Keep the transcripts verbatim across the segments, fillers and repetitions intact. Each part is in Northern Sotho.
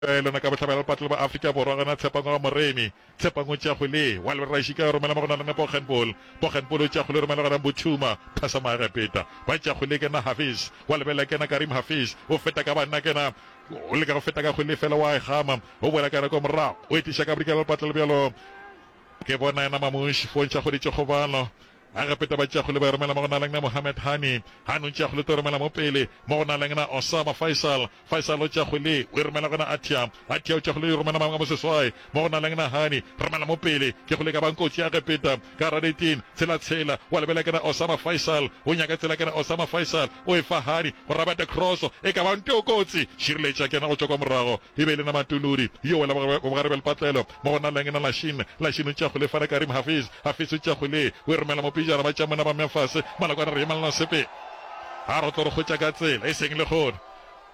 Lona ka bohlabela lepatlelo ba Afrika Borwa gona Tshepang wa Moremi. Tshepang o tšea kgwele wa lebela Raishika o romela mo go na le Boggenpoel. Boggenpoel o tšea kgwele o romela gona Mbuthuma. Phasa Maegepeta. Ba tšea kgwele kena Hafiz. Wa lebela kena Karim Hafiz. O feta ka banna kena o leka go feta ka kgwele fela wa e gama. O boela ka kwa morago. O etiša ka bodikela lepatlelo bjalo. Ke bona yena Mamush fontšha kgoditše kgobalo. Egepeta ba tšea kgwele ba e romela mo go na leng na Mohamed Hani. Hani o tšea kgwele to romela mo pele mo go na leng na Osama Faisal. Faisal o tšea kgwele o e romela gona Atia. Atia o tšea kgwele o e romela mangwe a moseswai mo go na leng na Hani. Romela mo pele ke kgwele ka bang kotsi ya Egepeta ka gara eighteen tshela tshela wa lebela kena Osama Faisal o nyaka tsela kena Osama Faisal o e fa Hani go rabata cross e ka bang teo kotsi šireletša kena go tšwa kwa morago e be e le na Matuludi yo wela bogare bja lepatlelo mo go na leng na Lashin. Lashin o tšea kgwele fana Karim Hafiz. Hafiz o tšea kgwele o e romela mo pejana ba tšea mona ba mmea fase malakwana re emelana sepe a re tlo re kgwetša ka tsela e seng le kgone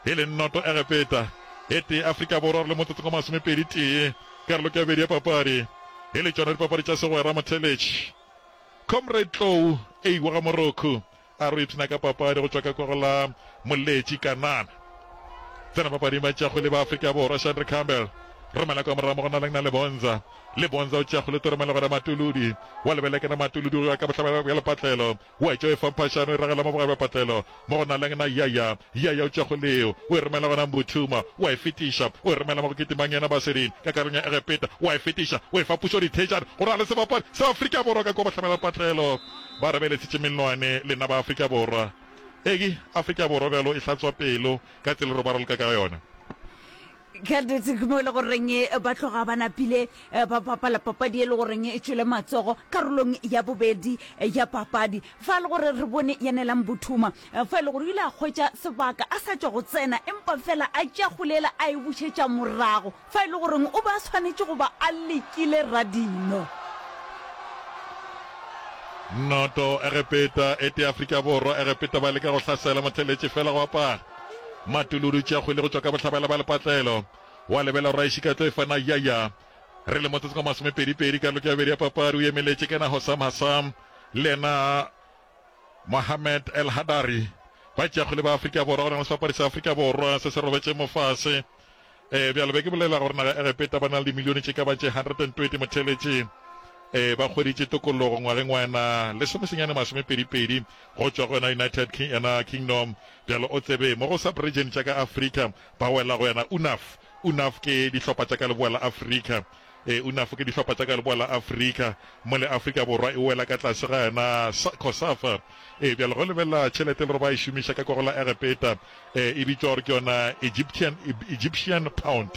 e le noto Egepeta e tee Afrika Borwa re le motsotsong wa masomepedi tee karolo ke ya bobedi ya papadi e le tšona dipapadi tša segwera motheletši Comrade Tlou eiwa ga Morocco a re ipshina ka papadi go tšwa ka kwa go la Moletši Kanana tsena papading ba tšea kgwele ba Afrika Borwa Shandre Campbell romela kwa morago mo go na leng na le Bonza le Bonza o tšea kgwele to romela gona Matuludi wa lebele kena Matuludi go ya ka bohlabela bja lepatlelo wa etša e fa mphašano e ragela mo bogare bja patlelo mo go na leng na Yaya Yaya o tšea kgwele eo o e romela gona Mbuthuma wa e fetiša o e romela mo go kitimang yena Basedin ka karolong ya Egepeta wa e fetiša o e fa pušo dithejane go ra le sebapadi sa Afrika Borwa ka kwa bohlabela patlelo ba re beletšitše melwane lena ba Afrika Borwa eke Afrika Borwa bjalo e hlatswa pelo ka tsela re ba raloka ka yona. Ka nnete ke mo e le goreng ba tloga ba napile ba bapala papadi e le goreng e tšwele matsogo karolong ya bobedi ya papadi. Fa e le gore re bone Yanelang Mbuthuma fa e le gore o ile a hwetša sebaka a sa tšwa go tsena empa fela a tšea kgwele a e bušetša morago fa e le goreng o be a swanetše go ba a lekile radino. Noto Egepeta e tee Afrika Borwa. Egepeta ba leka go hlasela motheletši fela go apara. Matuludi tšea kgwele go tšwa ka bohlabela ba lepatlelo wa lebela Raishika tlo e fana Yaya re le motsotsong wa masomepedi pedi karolo ke ya bobedi ya papadi o emeletše kena Hossam Hassam le yena Mohamed El Hadari ba tšea kgwele ba Afrika Borwa go na le sebapadi sa Afrika Borwa se se robetše mo fase um bjalo be ke bolela gore naga Egepeta ba na le dimilione tše ka ba tše hundred and twenty motheletše um ba hweditše tokologo ngwageng wa yena lesomesenyane masomepedi pedi go tšwa go yona United King, yena Kingdom bjalo o tsebe mo go sub region tša ka Afrika ba wela go yena UNAF UNAF ke dihlopha tša ka leboa la Afrika e UNAF ke dihlopha tša ka leboa la Afrika mo le Afrika Borwa e wela ka tlase ga yena COSAFA e bjalo go lebelela tšhelete le gore ba e šomiša ka kwa go la Egepeta e e bitšwa gore ke yona Egyptian Egyptian pound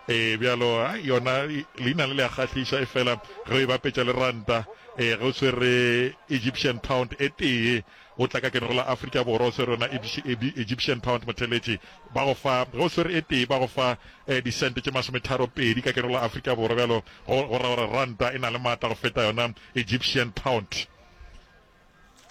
e bjalo yona leina le le a kgahliša e fela ge o e bapetša le ranta e ge o tshwere Egyptian pound e tee o tla ka kene go la Afrika Borwa o tshwere yona Egyptian pound motheletši ba go fa ge o tshwere e tee ba go fa disente tše masometharo pedi ka kene go la Afrika Borwa bjalo go ra gore ranta e na le maatla go feta yona Egyptian pound.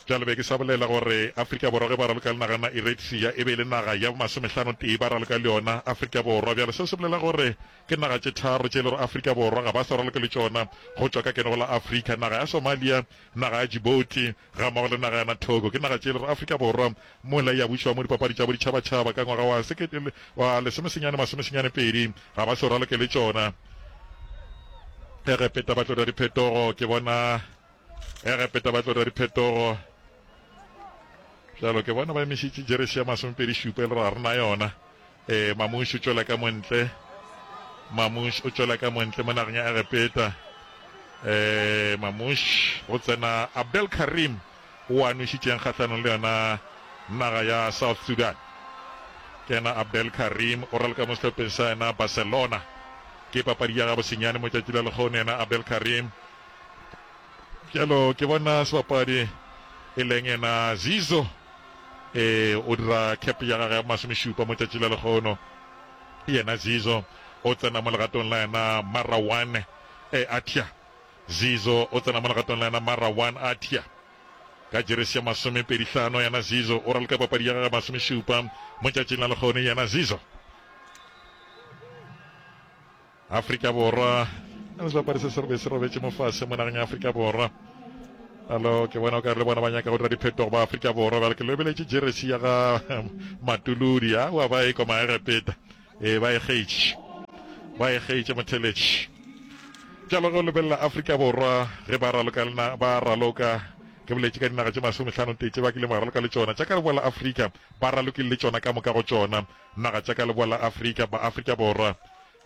Bjalo be ke sa bolela gore Afrika Borwa ge ba raloka le naga na Eritrea e be e le naga ya bomasomehlano tee ba raloka le yona Afrika Borwa. Bjalo seo se bolela gore ke naga tše tharo tše e le gore Afrika Borwa ga ba sa raloke le tšona go tšwa ka kene go la Afrika, naga ya Somalia, naga ya Djibouti ga mmogo le naga ya na Togo. Ke naga tše e le gore Afrika Borwa mola ya bušwa mo dipapadi tša boditšhabatšhaba ka ngwaga wa sekete wa lesomesenyane masomesenyane pedi ga ba sa raloke le tšona. Egepeta ba tlo dira diphetogo ke bona Egepeta ba tlo dira diphetogo bjalo ke bona ba emišitše jeresi ya masomepedi šupa e le gore ga re na yona. um Mamush o tšwela ka montle Mamush o tšwela ka montle mo nageng ya Egepeta. um Mamush go tsena Abdel Karim o a nwešitšeng kgahlanong le yona naga ya South Sudan. Ke yena Abdel Karim o raloka mo sehlopheng sa yena Barcelona. Ke papadi ya gabo senyane mo tšatši la lekgono yena Abdel Karim. Bjalo ke bona sebapadi e leng yena Zizo e o dira cap ya gagwe ya masomešupa mo tšatši la lekgono. Yena Zizo o tsena mo legatong la yena Marawan e Atia. Zizo o tsena mo legatong la yena Marawan Atia ka jeresi ya masomepedi hlano. Yena Zizo o raloka papadi ya gagwe masomešupa mo tšatšing la lekgono. Yena Zizo Afrika Borwa le sebapadi se se be se robetše mo fase mo nageng ya Afrika Borwa. Alo ke bona o ka re le bona ba nyaka go dira diphetogo ba Afrika Borwa. Bjale ke lebeletše jeresi ya ga Matuludi a wa ba e kwa Maegepeta e ba e kgetše. Ba e kgeitše motheletši. Bjalo ge o lebelela Afrika Borwa ge ba raloka le ba raloka, ke boletše ka dinaga tše masomehlano tee tše ba kileng ba raloka le tšona, tša ka leboa la Afrika, ba ralokile le tšona ka moka go tšona naga tša ka leboa la Afrika, ba Afrika Borwa.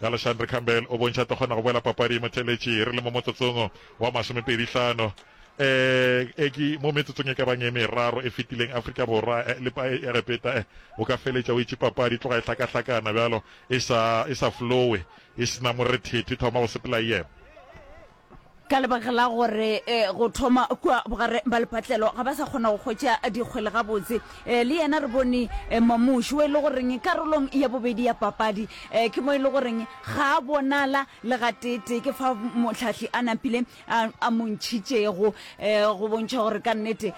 Alexandre Campbell o bontšha tlo kgona go boela papading motheletši re le mo motsotsong wa masomepedi hlano. Eh, e ke mo metsotsong e ka bang e meraro e fetileng Afrika Borwa eh, le Egepeta eh, o ka feletša o itše papadi tloga e hlakahlakana bjalo e sa e sa flowe e sena morethetho e thoma go sepela e ema. Ka lebaka la gore go thoma kua bogare ba lepatlelo ga ba sa kgona go hwetša dikgwele gabotse. Le yena re bone Mamuši o e le goreng karolong ya bobedi ya papadi ke mo e le goreng ga a bonala le gateetee, ke fa mohlahli a napile a mo ntšhitšego go bontšha gore ka nnete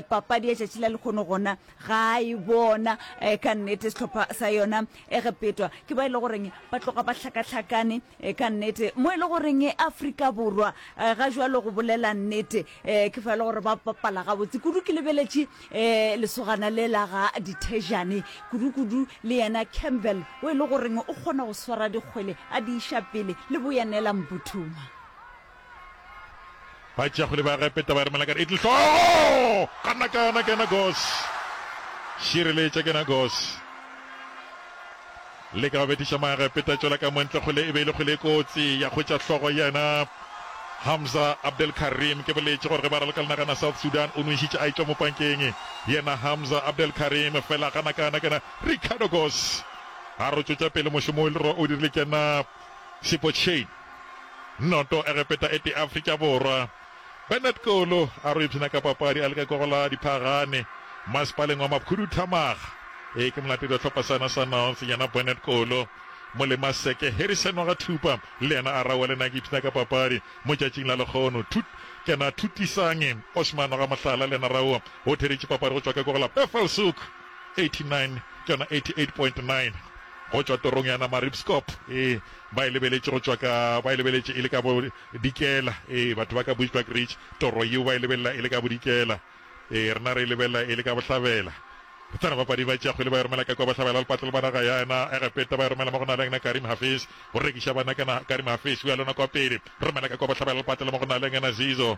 papadi ya tšatši la lehono gona ga a e bona ka nnete. Sehlopha sa yona Egepetwa ke ba e le goreng ba tloga ba hlakahlakane ka nnete, mo e le goreng Afrika Borwa ga jwalo go bolela nnete ke fa e le gore ba bapala gabotse kudu. Ke lebeletše lesogana le la ga Dithejane kudu-kudu, le yena Campbell o e le goreng o kgona go swara dikgwele a di iša pele le boyanela Mbuthuma. Ba tšea kgwele ba Egepeta ba e romela ka Italy. Hlogo! Gana kana kena Gos. Šireletša kena Gos. Leka go bethiša Maegepeta tšwela ka montle kgwele e be e le kgwele e kotsi ya hwetša hlogo yena Hamza Abdel Karim. Ke boletše gore ge ba raloka le nagana South Sudan o nwešitše a etšwa mo pankeng yena Hamza Abdel Karim fela gana kana kena Ricardo Gos a ro tšwetša pele mošomo o dirile kena Sipho Chaine. Noto Egepeta e tee Afrika Borwa. Bernard Kolo a ro ipshina ka papadi a leka kwa go la Diphagane masepaleng wa Maphuduthamaga. E ke molatedi wa hlopha sa yona sa North yena Bernard Kolo. Molemaseke Harrison wa ga Thupa le yena a rawa le nna ke ipshina ka papadi mo tšatšing la lekgono. Thut kena Thutisange Osman wa ga Mohlala le yena rawa o theretše papadi go tšwa ka kwa go la Bethelshoek eighty-nine ke yona eighty-eight point nine go tšwa torong ya Namaribskop. E ba e lebeletše go tšwa ka ba e lebeletše e le ka bodikela. E batho ba ka Bushbuckridge toro yeo ba e lebelela e le ka bodikela. E rena re e lebelela e le ka bohlabela. Re tsena bapadi ba tšea kgwele ba e romela ka kua bohlabela lepatlelo ba naga ya yena Egepeta ba e romela mo go na le yena Karim Hafiz go rekiša bana kana Karim Hafiz o ya lona kwa pele romela ka kua bohlabela lepatlelo mo go na le yena Zizo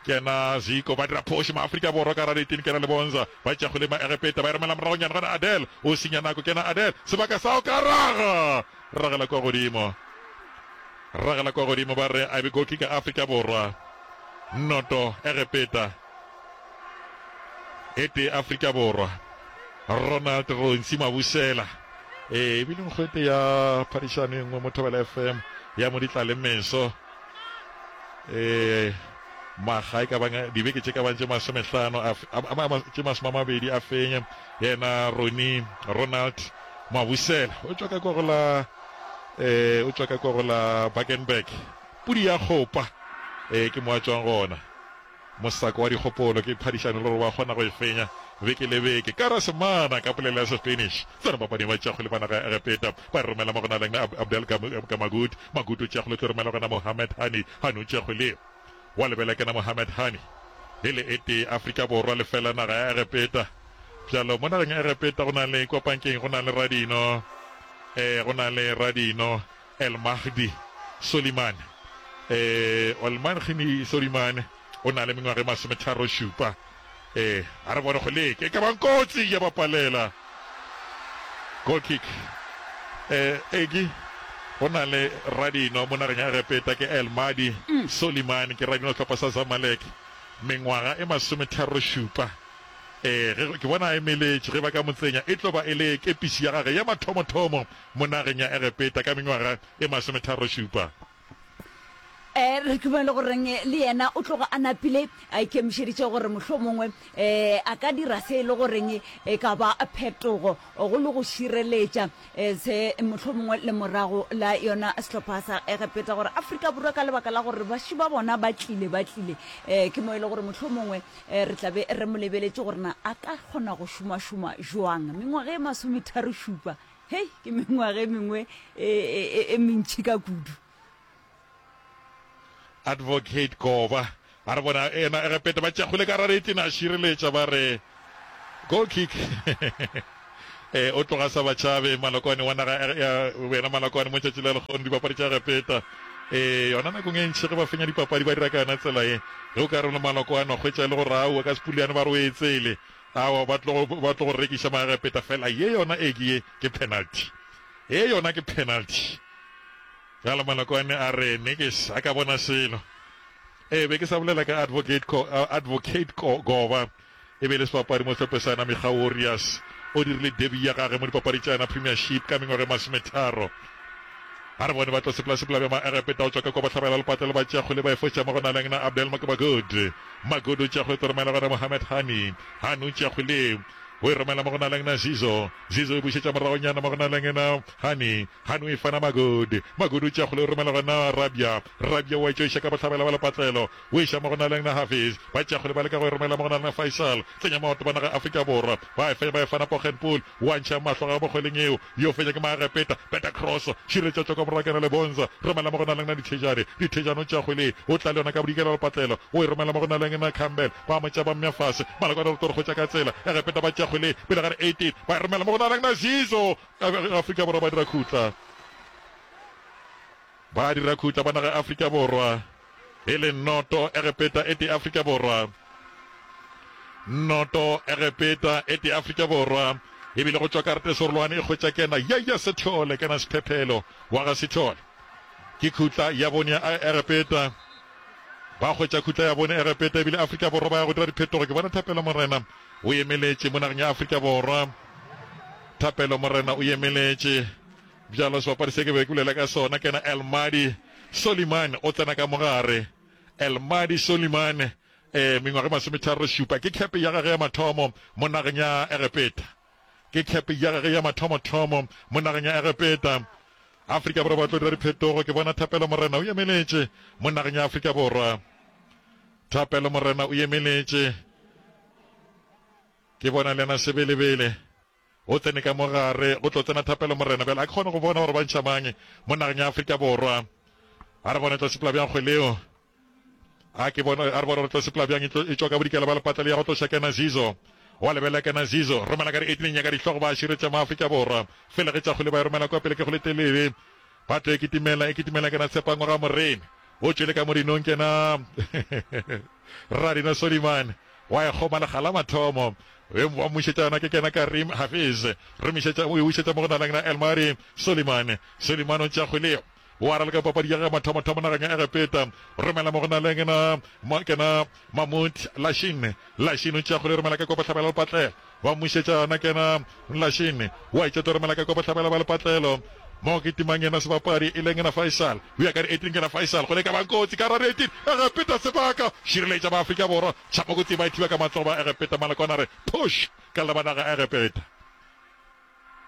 kena Zico ba dira phoši Maafrika Borwa ka Radetini kena Lebonza ba tšea kgwele Maegepeta ba e romela moragonyana gona Adel o senya nako kena Adel sebaka sa go ka raga ragela kwa godimo ragela kwa godimo ba re a be goal kick Afrika Borwa noto Egepeta e tee Afrika Borwa Ronald Ronsi Mabusela e ebile nkgwete ya phadišano e nngwe mo Thobela F M ya Moditla le Meso e maga e ka bang dibeke tše ka bang tše masomehlano tše masome a mabedi a fenye yena Roni Ronald Mabusela o tšwa ka kwa go la eh o tšwa ka kwa go la Bakenberg pudi ya kgopa eh ke mo a tšwang gona. Mosako wa dikgopolo ke phadišano le gore wa kgona go e fenya beke le beke. Ka Semana ka polelo ya Sespanish. Tsena papading ba tšea kgwele ba naga ya Egepeta ba e romela mo go na leng Abdel Magut. Magut o tšea kgwele o tlo romela gona Mohamed Hani. Hani o tšea kgwele wa lebela kena Mohamed Hani. E le e tee Afrika Borwa lefela naga ya Egepeta. Bjalo mo nageng ya Egepeta go na le kwa pankeng go na le Radino. Eh go na le Radino El Mahdi Soliman. Eh El Mahdi Soliman o na le mengwaga e masometharo šupa. Eh a re bone go leke e ka bang kotsi ya bapalela. Goal kick. Eh eki go na le Radino mo nageng ya Egepeta ke El Mahdi mm. Soliman ke Radino hlopha sa Zamalek mengwaga e masometharo šupa. Eh ge ke bona a emeletše ge ba ka motsenya e tlo ba e le kepisi ya gage ya mathomothomo mo nageng ya Egepeta ka mengwaga e masometharo šupa. Eh re ke le goreng le yena o tloga a napile a ikemišeditše gore mohlomongwe eh a ka dira se e le goreng e ka ba phetogo go le go šireletša se mohlomongwe le morago la yona sehlopha sa Egepeta gore Afrika Borwa ka lebaka la gore baši ba bona ba tlile ba tlile eh ke mo e le gore mohlomongwe re tla be re mo lebeletše gore na a ka kgona go šomašoma jwang mengwaga e masometharo šupa. Hei ke mengwaga e mengwe e mentši ka kudu. Advocate Goba a re bona ena Egepeta ba tšea kgwele ka rareting a šireletša ba re goal kick. Eh, o tloga sa batšhabe Malokwane wa naga ya wena Malokwane mo tšatši la lekgono dipapadi tša Egepeta. Eh, yona nakong e ntši ge ba fenya dipapadi ba dira ka yona tsela ye. Ge o ka re le Malokwane wa hwetša e le gore aowa ka Sepuliane ba re o e tsele. Aowa ba tlo ba tlo go rekiša Maegepeta fela ye yona e ke ye ke penalty. Ye yona ke penalty. Bjale Malokwane a re ne ke sa ka bona selo. Eh, be ke sa bolela ka Advocate Ko, Advocate Ko, Goba. E be e le sebapadi mo sehlopheng sa Namikga Warriors. O dirile debut ya gagwe mo dipapadi tša yona Premiership ka mengwaga e masometharo. A re bone ba tlo sepela-sepela bja Maegepeta go tšwa ka kwa bohlabela lepatlelo ba tšea kgwele ba e foša mo go naleng na Abdel Magud. Magud o tšea kgwele tlo romela gona Mohamed Hani. Hani o tšea kgwele o e romela mo go naleng na Zizo. Zizo o e bušetša moragonyana mo go naleng na Hani. Hani o e fana Magud. Magud o tšea kgwele o e romela gona Rabia. Rabia o a e tšoiša ka bohlabela ba lepatlelo. O iša mo go naleng na Hafiz. Ba tšea kgwele ba leka go e romela mo go naleng na Faisal. Tsenya maoto ba naga Afrika Borwa. Ba e fenya ba e fana Poggenpoel. Wa ntšha mahlo ga mo kgweleng eo. Yo fenya ke Maegepeta. Beta cross. Šireletša tšwa ka morago kena le Bonza. Romela mo go naleng na Dithejane. Dithejane o tšea kgwele. O tla le yona ka bodikela lepatlelo. O e romela mo go naleng na Campbell. Ba mo tšea ba mmea fase. Malokwane re tlo re hwetša ka tsela. Egepeta ba tšea kgwele pele ga re eighteen. Ba e romela mo go naleng na Zizo. Afrika Borwa ba dira khutla. Ba dira khutla ba naga Afrika Borwa. E le noto Egepeta e tee Afrika Borwa. Noto Egepeta e tee Afrika Borwa. E bile go tšwa karate serolwane e hwetša kena Yaya Sethole kena Sephephelo wa ga Sethole. Ke khutla ya bone ya Egepeta. Ba hwetša khutla ya bone Egepeta ebile Afrika Borwa ba ya go dira diphetogo. Ke bona Thapelo Morena o emeletše mo nageng ya Afrika Borwa. Thapelo Morena o emeletše. Bjalo sebapadi se ke be ke bolela ka sona kena Elmadi Soliman o tsena ka mogare. Elmadi Soliman eh mengwaga e masometharo šupa ke cap ya gagwe ya mathomo mo nageng ya Egepeta. Ke cap ya gagwe ya mathomothomo mo nageng ya Egepeta. Afrika Borwa ba tlo dira diphetogo. Ke bona Thapelo Morena o emeletše mo nageng ya Afrika Borwa. Thapelo Morena o emeletše. Ke bona le yena Sebelebele o tsene ka mo gare go tlo tsena Thapelo Morena. Bjale a ke kgone go bona gore ba ntšha mang mo nageng ya Afrika Borwa. A re bone tlo sepela bjang kgwele eo. A ke bone, a re bone gore tlo sepela bjang e tlo e tšwa ka bodikela ba lepatla le ya go tloša kena Zizo. Wa lebelela kena Zizo, romela ka di eighteen nyaka dihlogo ba širetša mo Afrika Borwa. Fela ge tša kgwele ba e romela kwa pele ke kgwele telele. Ba tlo e kitimela, e kitimela kena Tshepang wa ga Moremi. O tšwele ka mo dinong kena Radino Soliman. Wa e kgoma lekga la mathomo. Wa mmušetša yona ke kena Karim Hafiz. Romišetša, o e bušetša mo go naleng na Elmari Soliman. Soliman o tšea kgwele yeo. O a raloka papadi ya gagwe mathomothomo nageng ya Egepeta. Romela mo go naleng na kena Mahmoud Lashin. Lashin o tšea kgwele romela ka kwa bohlabela lepatlelo. Wa mmušetša yona kena Lashin. Wa etša tlo romela ka kwa bohlabela ba lepatlelo. Mo ke timang yena sebapadi e leng yena Faisal. O ya ka di eighteen kena Faisal. Kgwele e ka bang kotsi ka ra di eighteen. Egepeta sebaka. Šireletša ba Afrika Borwa. Tšhamo kotsi ba e thiba ka matsogo ba Egepeta. Malokwane a re push ka leba naga Egepeta.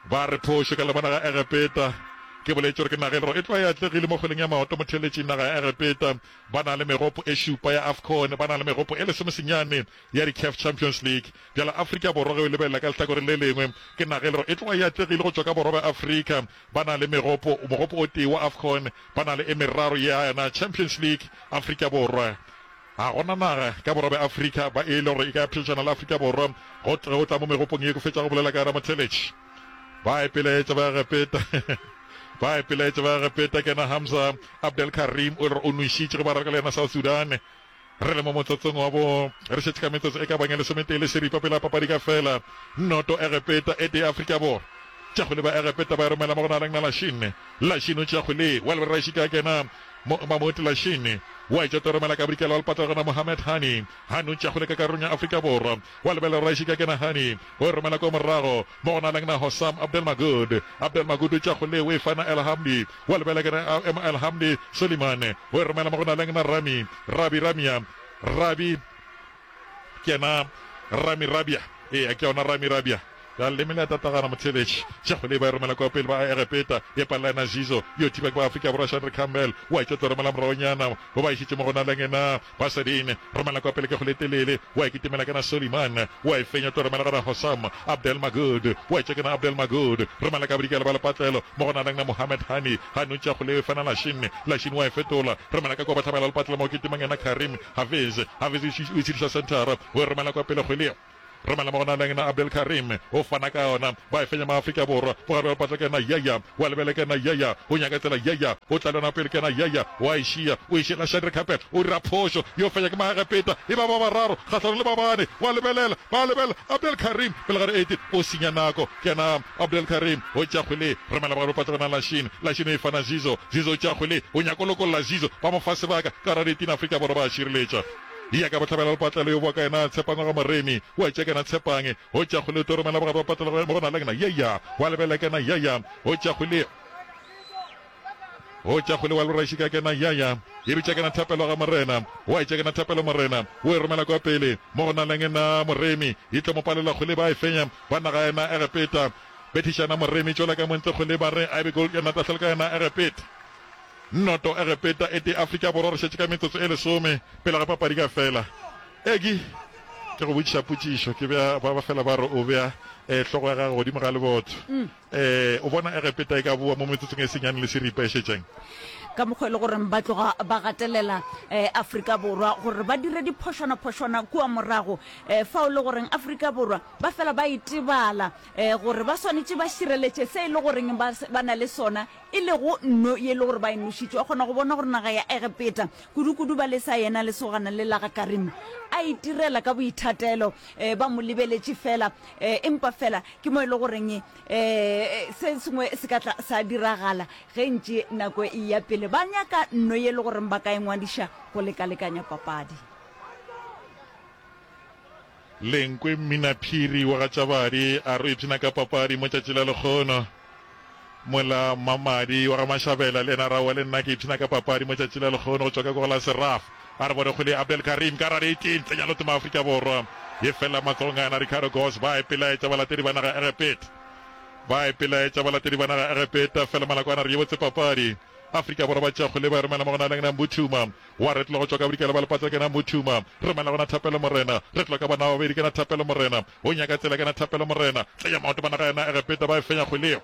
Ba re phošo ka leba naga Egepeta. Ke boletše gore ke naga e lego e tloga e atlegile mo kgweleng ya maoto motheeletšing naga ya Egepeta. Ba na le megopo e šupa ya AFCON, ba na le megopo e lesomesenyane ya di-CAF Champions League. Bjale Afrika Borwa ge o e lebelela ka lehlakoreng le lengwe ke naga e lego e tloga e atlegile go tšwa ka borwa bja Afrika. Ba na le megopo, mogopo o tee wa AFCON, ba na le e meraro ya yona Champions League. Afrika Borwa Ga go na naga ka borwa bja Afrika ba e le gore e ka phedišana le Afrika Borwa go go tla mo megopong ye ke fetša go bolela ka yona motheeletši. Ba ipelaetša ba Egepeta. Ba ipelaetša ba Egepeta ke yena Hamza Abdel Karim o e le gore o nwešitše ge ba raloka le yena South Sudan. Re le mo motsotsong wa bo re šetše ka metsotso e ka bang e lesometee le seripa pele ga papadi ka fela. Noto Egepeta e tee Afrika Borwa. Tša kgwele ba Egepeta ba e romela mo go naleng na Lashin. Lashin o tšea kgwele wa lebelela Raishika a kena mo Mahmoud Lashin wa etša tlo romela ka bodikela wa lepatla gona Mohamed Hani. Hani o tšea kgwele ka karolong ya Afrika Borwa wa lebelela Raishika a kena Hani o e romela kwa morago mo go naleng na Hossam Abdel Magud. Abdel Magud o tšea kgwele o e fana El Hamdi wa lebelela kena El Hamdi Suleiman o e romela mo go naleng na Rami Rabi Ramia Rabi Ke yena Rami Rabia. Eya, ke yona Rami Rabia. Ya leleme le a tatagana, motheeletši. Tšhego le ba e romela kua pele ba Egepeta. E palela yena Zizo. Yo thiba ke ba Afrika Borwa Shandre Campbell. O a etša tlo romela moragonyana. Bo ba išitše mo go naleng yena Basadin. Romela kua pele ke kgole telele. O a e kitimela ke na Soliman. O a e fenya tlo romela gona Hossam Abdel Magud. O a etša ke na Abdel Magud. Romela ka bodikela ba lepatlelo mo go naleng na Mohamed Hani. Hani o tšea kgole e fana Lashin. Lashin o a e fetola. Romela ka kua bohlabela lepatlelo mo go kitimang yena Karim Hafiz. Hafiz o itshediša senthara. O e romela kua pele kgwele. Romela mo gona le yena Abdel Karim o fana ka yona. Ba e fenya Maafrika Borwa. Bogare bja lepatla ke yena Yaya. Wa lebele ke yena Yaya. O nyaka tsela Yaya. O tla le yona pele ke yena Yaya. Wa e šia. O e šiela Shadrack gape. O dira phošo. Yo fenya ke Maegepeta. E ba ba bararo kgahlanong le ba bane. Wa lebelela. Ba lebelela. Abdel Karim pele ga re eighteen. O senya nako. Ke yena Abdel Karim. O tšea kgwele. Romela bogare bja lepatla gona Lashin. Lashin o e fana Zizo. Zizo o tšea kgwele. O nyaka go lokolla Zizo. Ba mo fa sebaka. Ka gare ga eighteen Afrika Borwa ba a šireletša. Ya ka bohlabela lepatlelo yo boa ka yena Tshepang wa ga Moremi. Wa tšea kena Tshepang. O tšea kgwele o tlo romela bogare bja patlelo mo go na le yena Yaya. Wa lebelela kena Yaya. O tšea kgwele. O tšea kgwele wa loraiši ka kena Yaya. E bitša kena Thapelo ga Morena. Wa tšea kena Thapelo Morena. O e romela kwa pele mo go na le yena Moremi. E tlo mo palela kgwele ba e fenya ba naga yena Egepeta. Bethišana Moremi tšwela ka montle kgwele ba re a e be goal yena tahlelo ka yena Egepeta. Noto Egepeta e tee Afrika Borwa re šetše ka metsotso e lesome pele ga papadi ka fela. Egi, ke go botšiša potšišo, ke bea ba ba fela ba re o bea eh, hlogo ya gago godimo ga leboto. Eh, o bona Egepeta e ka boa mo metsotsong e senyane le seripa e šetšeng? Ka mokgwa e le goreng ba tloga ba gatelela eh, Afrika Borwa gore ba dire diphošwana-phošwana kua morago eh, fao le goreng Afrika Borwa ba fela ba itebala eh, gore ba swanetše ba šireletše se e le goreng ba, ba na le sona e lego nno ye e le gore ba e nošitše. Wa kgona go bona gore naga ya Egepeta, kudu-kudu ba lesa yena lesogana le la ga Karim a itirela ka boithatelo, eh, ba mo lebeletše fela, eh, empa fela ke mo e le goreng eh, se sengwe se ka tla sa diragala ge ntše nako e eya pele. Ba nyaka nno ye e le goreng ba ka e ngwadiša go lekalekanya papadi. Lenkwe Mminaphiri wa ga Tšabadi a re o ipshina ka papadi mo tšatši la lekgono. Mola Mmamadi wa ga Mashabela le yena a re aowa le nna ke ipshina ka papadi mo tšatši la lekgono go tšwa ka kwa go la Seraf. A re bone kgwele ya Abdel Karim ka gare eighteen tsenya loto Maafrika Borwa ye fela matsogong a yena Ricardo Goss. Ba ipelaetša balatedi ba naga Egepeta. Ba ipelaetša balatedi ba naga Egepeta fela Malakwana a re ye botse papadi. Afrika Borwa ba tšea kgwele ba e romela mo go na le Mbuthuma. Wa retlola go tšwa ka bodikela ba lepatla ke na Mbuthuma. Romela gona Thapelo Morena. Retlola ka bona ba babedi ke na Thapelo Morena. O nyaka tsela ke na Thapelo Morena. Tsenya maoto ba naga yena Egepeta ba e fenya kgwele yeo.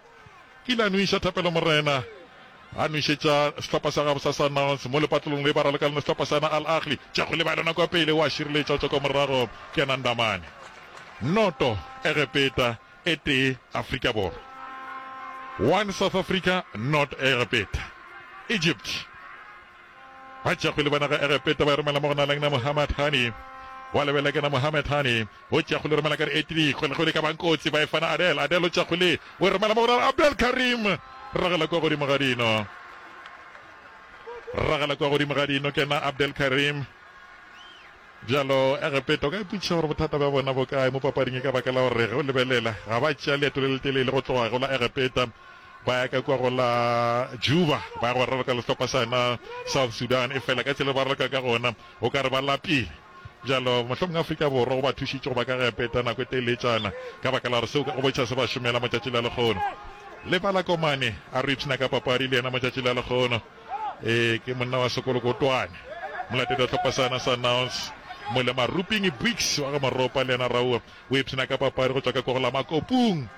Kile a nweša Thapelo Morena. A nwešetša sehlopha sa gabo sa Sundowns mo lepatlelong le ba raloka le sehlopha sa yena Al Ahly. Tšea kgwele ba e lona kwa pele. Wa šireletša go tšwa kwa morago ke yena Ndamane. Noto Egepeta e tee Afrika Borwa. One South Africa, not Egepeta. Egypt. Ba tšea kgwele ba naga Egepeta ba e romela mo go na Muhammad Hani. Wa lebelela ke na Muhammad Hani. O tšea kgwele romela ka re eighty kgwele kgwele ka bang kotsi ba e fana Adel. Adel o tšea kgwele o e romela mo go na Abdel Karim. Ragela kwa godimo ga dino. Ragela kwa godimo ga dino ke na Abdel Karim. Bjalo Egepeta o ka ipotšiša gore bothata bja bona bo kae mo papading e ka baka la gore ge o lebelela ga ba tšea leeto le letelele go tloga go la Egepeta ba ya ka kua go la Juba ba ya go raloka le sehlopha sa yona South Sudan e fela ka tsela ba raloka ka gona o ka re ba lapile. Bjalo mohlomongwe Afrika Borwa go ba thušitše go ba ka Egepeta nako e teletšana ka baka la gore seo go bontšha se ba šomela motšatši la lekgono. Lebala Komane a re ipshina ka papadi le yena motšatši la lekgono. Ee, ke monna wa sekolokotwane, molatedi wa hlopha sa yena Sundowns, Mole Maruping Bricks wa ga Moropa le yena Raoa o ipshina ka papadi go tšwa ka kwa go la Makopung.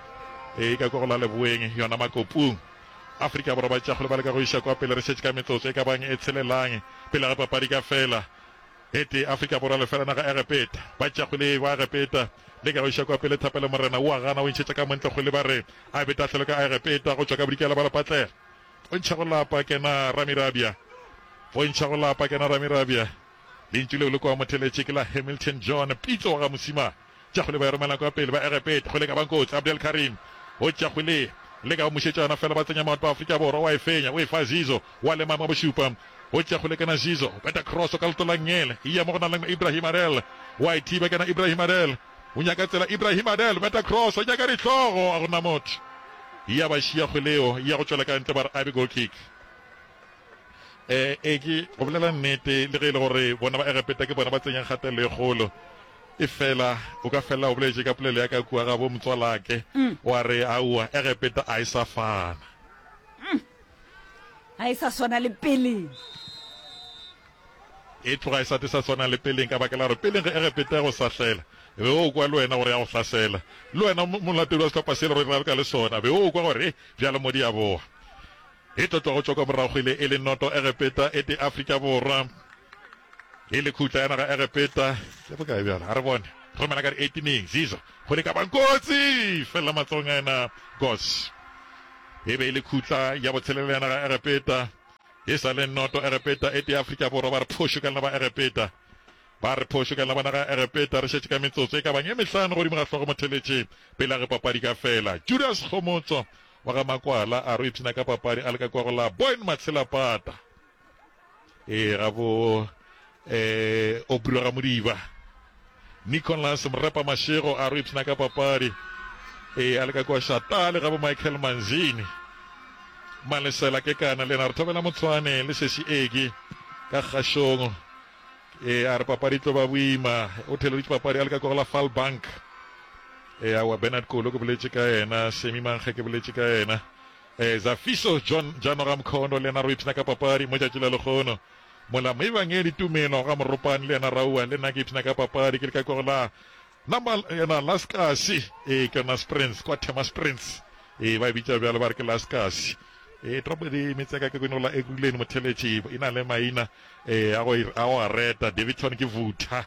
Ee, ka kwa go la Leboeng, yona Makopung. Afrika Borwa ba tšea kgole ba leka go iša kwa pele, re šetše ka metsotso e ka bang e tshelelang pele ga papadi ka fela. E tee Afrika Borwa lefela naga Egepeta. Ba tšea kgwele ba Egepeta leka go iša kwa pele, Thapelo Morena o a gana o ntšhetša ka montle kgwele ba re a be tahlelo ka Egepeta go tšwa ka bodikela ba lepatlela. Bontšha go lapa kena Ramirabia. Bontšha go lapa kena Ramirabia. Lentšu leo le kwa motheletše ke la Hamilton John Pitso wa ga Mosimane. Tša kgwele ba e romela kwa pele ba Egepeta. Kgwele ka bang kotsi. Abdel Karim o tša kgwele le ka go mošetša yona fela ba tsenya maoto ba Afrika Borwa wa e fenya o e fa Zizo wa lema ma bošupa. O tša kgwele kena Zizo beta cross ka leto la ngele e ya mo go na le Ibrahim Adel wa e thiba kena Ibrahim Adel o nyaka tsela Ibrahim Adel beta cross o nyaka dihlogo a gona motho. Ya ba šia kgwele yeo ya go tšwela ka ntle ba re a be goal kick. E, e ke go bolela nnete le ge e le gore bona ba Egepeta ke bona ba tsenyang kgatelelo e kgolo e fela o ka fela o boletše ka polelo ya ka kua ga bo motswalake wa re aowa Egepeta a e sa fana. Ga e sa swana le peleng. E tloga e sa te sa swana le peleng ka baka la gore peleng ge Egepeta e go sahlela be o kwa le wena gore ya go hlasela. Le wena molatedi wa sehlopha sele gore raloka le sona be o kwa gore bjalo mo di a boa. E tlo tloga go tšwa kwa morago ile e le noto Egepeta e tee Afrika Borwa e le khutla ya naga Egepeta. Ke bokae bjalo? A re bone. Romela ka di-eighteeneng Zizo go le ka bankotsi fela matsogong a yena Gos. E be e le khutla ya botshelela ya naga Egepeta. E sa le noto Egepeta e tee Afrika Borwa ba re phošo ka lena ba Egepeta. Ba re phošo ka lena ba naga Egepeta. Re šetše ka metsotso e ka bang e mehlano godimo ga hlogo motheletše pele a ge papadi ka fela. Judas Kgomotso wa ga Makwala a re o ipshina ka papadi a le ka kwa go la Boyne Matshelapata. Ee, ga bo eh Aubrey wa ga Modiba. Nicholas Mrepa Mashego a re o ipshina ka papadi ee a le ka kwa Shatale ga bo Michael Manzini. Malesela Kekana le yena a re thobela Motshwane le Sesi Eki ka kgašong. Ee a re papadi e tlo ba boima. O theleditše papadi a le ka kwa go la Falbank. Ee aowa Bernard Kolo ke boletše ka yena, Semi Mankge ke boletše ka yena. Ee Zafiso John Jano ga Mkhondo le yena a re o ipshina ka papadi mo tšatši la lekgono. Mola Moebangedi Tumelo ga Moropane le yena Raua le nna ke ipshina ka papadi ke le ka kwa go la Nama yena Laskasi ee ke yona Springs kwa Thema Springs ee ba e bitša bjalo ba re ke Laskasi ee toropo di metse ya ka ke kwene go la Ekurhuleni Motheletši e na le maina ee a go a go a reta Daveyton ke Vutha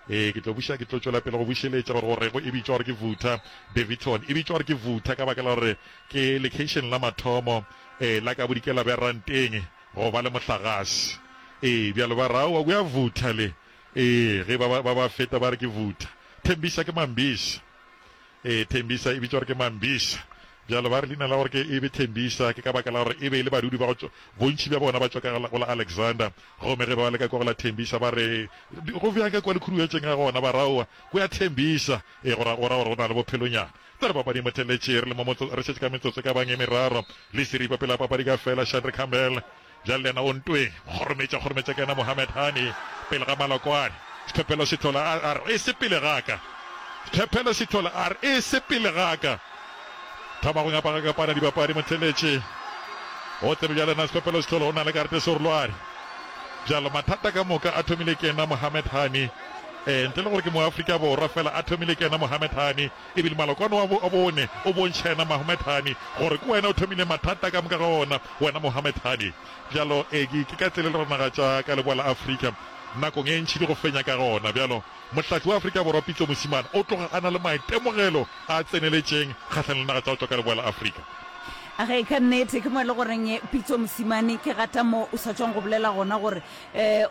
ee ke tlo buša ke tlo tšwela pele go bušeletša gore gore go e bitšwa gore ke Vutha Daveyton e bitšwa gore ke Vutha ka baka la gore ke location la mathomo ee la ka bodikela bja Ranteng go ba le mohlagase. Ee, bjalo ba re, Aowa, o ya vutha le. Ee, ge ba, ba, ba ba feta ba re ke vutha. Thembisa ke Mambisa. Ee, Thembisa e bitšwa gore ke Mambisa. Bjalo ba re leina la gore ke e be Thembisa ke ka baka la gore e be e le badudi ba go tšwa, bontši bja bona ba tšwa ka go la Alexander. Gomme ge ba le ka kwa go la Thembisa ba re, Go bjang ka kwa le khuduetšeng ga gona? Ba re, Aowa, ko ya Thembisa. Ee, go ra, go ra gore go na le bophelonyana. Tla re papading motheletše, re le mo motso, re šetše ka metsotso e ka bang e meraro le seripa pele ga papadi ka fela. Shandre Campbell bjale le yena o ntweng, kgorometša, kgorometša ke yena Mohamed Hani pele ga Malokwane. Sephephelo Sithole a, a re e se pele ga ka. Sephephelo Sithole a re e se pele ga ka. Thoma go ngapagakapana dibapadi motheletše. O tsebe bjale na Sephephelo Sithole o na le karete serolwane. Bjalo mathata ka moka a thomile ke yena Mohamed Hani. Eh, ntle le gore ke Moafrika Borwa fela a thomile ke yena Mohamed Hani. E bile malokwane wa bo, bone o bontšha yena Mohamed Hani gore ke wena o thomile mathata ka moka ga ona, wena Mohamed Hani. Bjalo, ee, ke, ke ka tsela e le gore naga tša ka leboa la Afrika nakong e ntši di go fenya ka gona. Bjalo, mohlahli wa Afrika Borwa Pitso Mosimane o tloga a na le maitemogelo a tseneletšeng kgahlanong le naga tša go tšwa ka leboa la Afrika. Ge, ka nnete, ke mo e le goreng Pitso Mosimane, ke gata mo o sa tšwang go bolela gona gore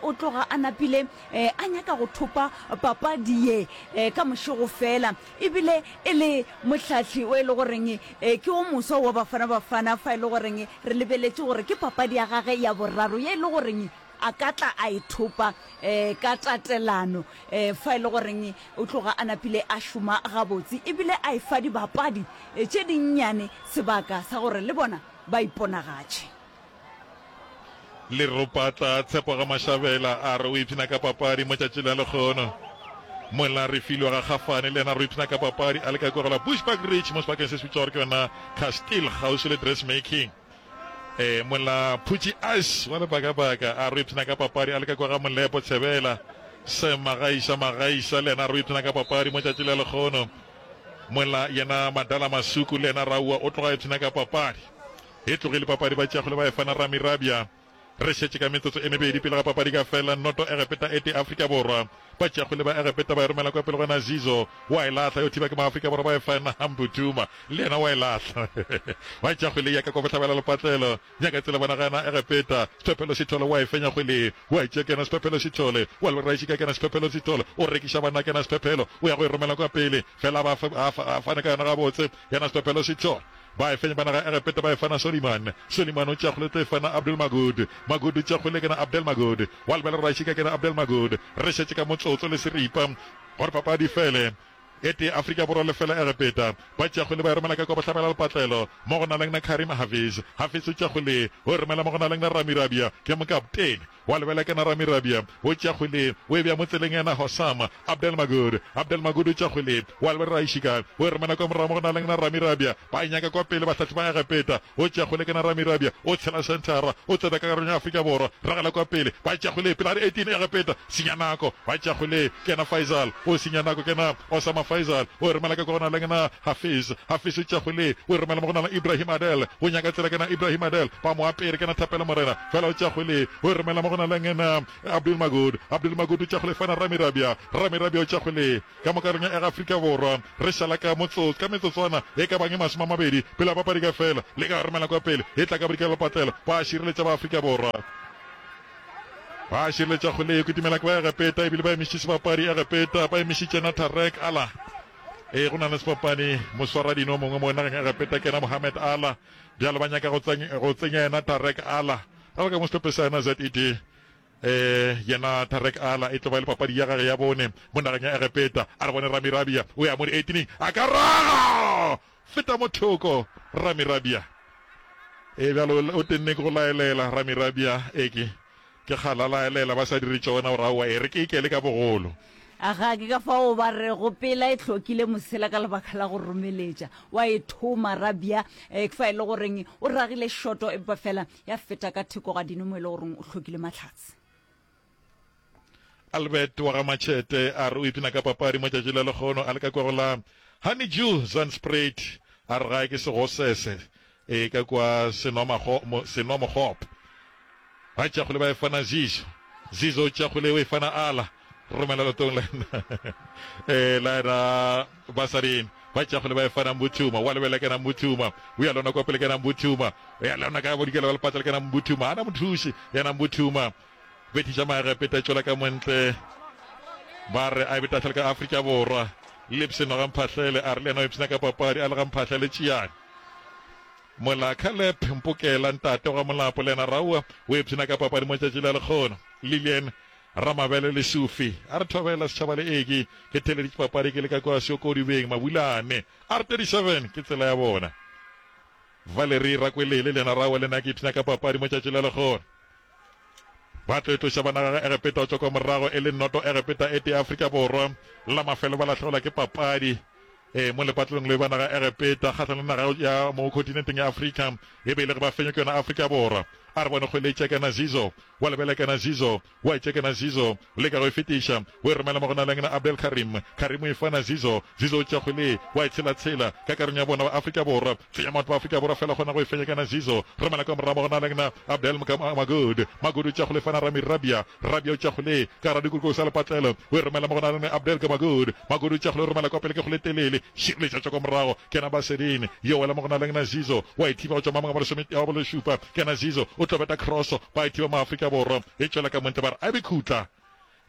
o tloga a napile a nyaka go thopa papadi ye ka mošego fela, ebile e le mohlahli o e le goreng ke o moswa wa Bafana Bafana, fa e le goreng re lebeletše gore ke papadi ya gage ya boraro ye e le goreng a ka tla a e thopa ka tatelano, fa e le goreng o tloga a napile a šoma gabotse ebile a efa dibapadi tše dinnyane sebaka sa gore le bona ba iponagatše. Leropatla Tshepo ga Mashabela a re o ipshina ka papadi mo tšatši la lekgono. Mola Refilwe ga Kgafane le yena a re o ipshina ka papadi a le ka kua go la Bushbuck Ridge mo sebakeng se se bitšwago gore ke yona Castile kgauswi le Dressmaking. E, mola Phutši Ice wa lebakabaka a re o ipshina ka papadi a le ka kua ga Molepo Tshebela. Sam Magaisa Magaisa le yena a re o ipshina ka papadi mo tšatši la lekgono. Mola yena Madala Masuku le yena Raua o tloga a ipshina ka papadi. E tlogile papadi ba tšeagole ba e fana Rami Rabia. Re šetše ka metsotso e mebedi pele ga papadi ka fela, noto Egepeta e tee Afrika Borwa. Ba tšeagole ba Egepeta ba e romela kwa pele go Nazizo, wa e lahla, yo thiba ke Maafrika Borwa ba e fana Hambutuma, le yena wa e lahla. Ba tšeagole ya ka kwa bohlabela lepatlelo, nyaka tsela bona gana Egepeta, Sephephelo Sithole wa e fenya kgwele, wa e tšea ke yena Sephephelo Sithole, wa Leraisi ka kena Sephephelo Sithole, o rekiša banna kena Sephephelo, o ya go e romela kwa pele, fela ba a fane ka yona gabotse, yena Sephephelo Sithole. Ba e fenya ba naga Egepeta ba e fana Soliman. Soliman o tšea kgole tlo e fana Abdul Magud. Magud o tšea kgole kena Abdel Magud. Wa lebela Rašika kena Abdel Magud. Re šetše ka motsotso le seripa gore papadi e fele. E tee Afrika Borwa lefela Egepeta. Ba tšea kgole ba e romela ka kwa bohlabela lepatlelo mo go naleng na Karim Hafiz. Hafiz o tšea kgole o e romela mo go naleng na Rami Rabia ke mokaptene. Wa lebela ke na Rami Rabia, o tšea kgwele, o e bea mo tseleng ya na Hossam Abdel Magud. Abdel Magud o tšea kgwele, wa lebela Raishika, o e romela kwa morago mo go naleng na Rami Rabia. Ba e nyaka kwa pele bahlahli ba Egepeta. O tšea kgwele ke na Rami Rabia, o tshela senthara, o tsena ka karolong ya Afrika Borwa, ragela kwa pele. Ba tšea kgwele pele ga di eighteen Egepeta, senya nako. Ba tšea kgwele ke na Faisal, o senya nako ke na Osama Faisal, o e romela ka kwa go naleng na Hafiz. Hafiz o tšea kgwele, o e romela mo go naleng Ibrahim Adel, o nyaka tsela ke na Ibrahim Adel. Ba mo apere ke na Thapelo Morena, fela o tšea kgwele, o e romela mo go gona le ngena Abdul Magud. Abdul Magud o tša kgole fana Rami Rabia. Rami Rabia o tša kgole ka mo karolong ya Afrika Borwa. Re šala ka motsotso ka metsotswana e ka bang e masome a mabedi pele papadi ka fela. Le ka romela kwa pele e tla ka bodikela lepatlelo. Ba šireletša ba Afrika Borwa. Ba šireletša kgole e kitimela ke ba Egepeta ebile ba emišitše sebapadi Egepeta ba emišitše na Tarek Ala. E go na le sebapadi moswaradino mongwe mo nageng Egepeta ke yena Mohamed Ala. Bjalo ba nyaka go tsenya yena Tarek Ala. Ga ba ka mo sehlopheng sa yena Z E D. Eh yena Tarek Ala e tlo ba le papadi ya gage ya bone mo nageng ya Egepeta. A re bone Rami Rabia o ya mo di-eighteening a ka raga feta mo thoko Rami Rabia. E bjalo o tenne ke go laelela Rami Rabia e ke ke kgala laelela ba sa dire tšona gore aowa e re ke ikele ka bogolo. Aga ke ka fao ba re go pela e hlokile mosela ka lebaka la go romeletša. Wa e thoma Rabia e fa e le goreng o ragile shoto empa fela ya feta ka theko ga dino mo e le goreng o hlokile mahlatse. Albert wa ga Machete a re o ipshina ka papadi mo tšatši la lekgono a le ka kwa go la Honeydew Zandspruit a re gae ke segosese e ka kwa Senwamokgop. Ba tšakgole ba e fana Zizo. Zizo o tšakgole o e fana Ala. Romela lotong la e la ena basading. Ba tšakgole ba e fana Mbuthuma. Wa lebela ke na Mbuthuma. O ya lona kwa pele ke na Mbuthuma. O ya lona ka bodikela ba lepatla ke na Mbuthuma. Ana mothuši yena Mbuthuma. Bethiša Maegepeta tšwela ka montle. Ba re a be ka Afrika Borwa. Lipson ga Mphahlele a re le yena o ipshina ka papadi a le ga Mphahlele tšiane. Mola Caleb Mpokela ntate wa Molapo le yena Raua o ipshina ka papadi mo tšatši la lekgono. Lilian Ramabele le Sufi a re thobela setšhaba le eke ke theleditše papadi ke le ka kwa Seokodibeng Mabulane. R thirty-seven ke tsela ya bona. Valerie Rakwelele le yena Raua le nna ke ipshina ka papadi mo tšatši la lekgono. Ba tlo etloša ba naga Egepeta o tšwa kwa morago e le noto Egepeta e tee Afrika Borwa. La mafelo ba lahlegelwa ke papadi e mo lepatlelong le ba naga Egepeta kgahlanong le naga ya mo kontinenteng ya Afrika e be e le ge ba fenywa ke yona Afrika Borwa. A re bone kgwele e tšekana Zizo wa lebela kena Zizo wa e tšekana Zizo le ka go e fetiša o e romela mo go na le ngena Abdel Karim. Karim o e fana Zizo. Zizo o tšea kgwele wa e tshela-tshela ka karong ya bona ba Afrika Borwa. Tsenya maoto ba Afrika Borwa fela kgona go e fenya kena Zizo. Romela ka morago mo go na le ngena Abdel Magud. Magud o tšea kgwele fana Rami Rabia. Rabia o tšea kgwele ka gare dikoko sa lepatlelo o e romela mo go na le ngena Abdel Magud. Magud o tšea kgwele o romela kwa pele ke kgwele telele. Šireletša tšwa kwa morago kena Basedine. Yo wela mo go na le ngena Zizo wa e thiba go tšwa mamong a bolesome a bolešupa kena Zizo o tlo beta cross ba e thiba mo Afrika Borwa e tšwela ka montle ba re a be khutla.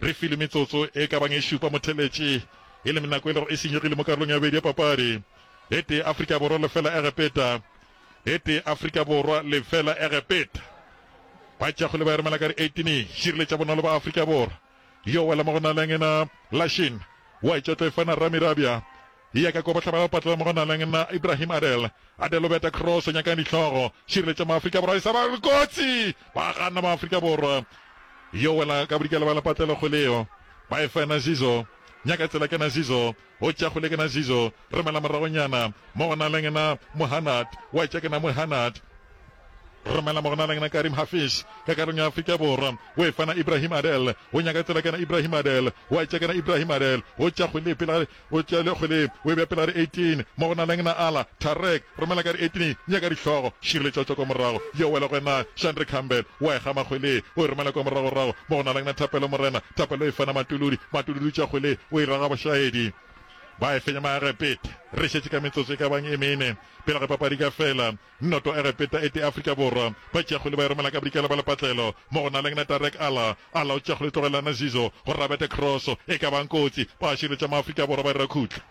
Re file metsotso e ka bang e šupa motheletše e le nako e le gore e senyegile mo karolong ya bobedi ya papadi. E tee Afrika Borwa lefela Egepeta. E tee Afrika Borwa lefela Egepeta. Ba tšakgole ba e romela ka di eighteen šireletša bonolo ba Afrika Borwa. Yo wela mo go na le ngena Lashin wa e tšwa tlo e fana Rami Rabia. Ya ka kwa bohlaba ba patlela mo go na le ngena Ibrahim Adel. Adel o beta cross nyakang dihlogo. Šireletša ma Afrika Borwa e sa ba kotsi. Ba gana ma Afrika Borwa. Yo wela ka bodikela ba lepatlela kgweleo. Ba e fana Zizo. Nyaka tsela kena Zizo. O tšea kgwele kena Zizo. Romela moragonyana mo go na le ngena Mohanad. Wa tšea kena Mohanad. Romela mo go na le ngena Karim Hafiz ka karolong ya Afrika Borwa. O e fana Ibrahim Adel. O nyaka tsela kena Ibrahim Adel. Wa tšea kena Ibrahim Adel. O tšea kgwele pele o tšea le kgwele o e bea pele ga di eighteen mo go na le ngena Ala Tarek. Romela ka di eighteen nyaka dihlogo. Šireletša tšwa kwa morago. Yo wela go ena Shandre Campbell. Wa e gama kgwele o e romela kwa moragorago mo go na le ngena Thapelo Morena. Thapelo e fana Matuludi. Matuludi o tšea kgwele o e raga bošaedi. Ba e fenya Maegepeta. Re šetše ka metsotso e ka bang e mene pele ga papadi ka fela. Noto Egepeta e tee Afrika Borwa. Ba tšea kgwele ba e romela ka bodikela ba lepatlelo mo go na le ngena Tarek Ala. Ala o tšea kgwele tlogelana Zizo gore a bete cross e ka bang kotsi. Ba šireletša ma Afrika Borwa ba dira khutla.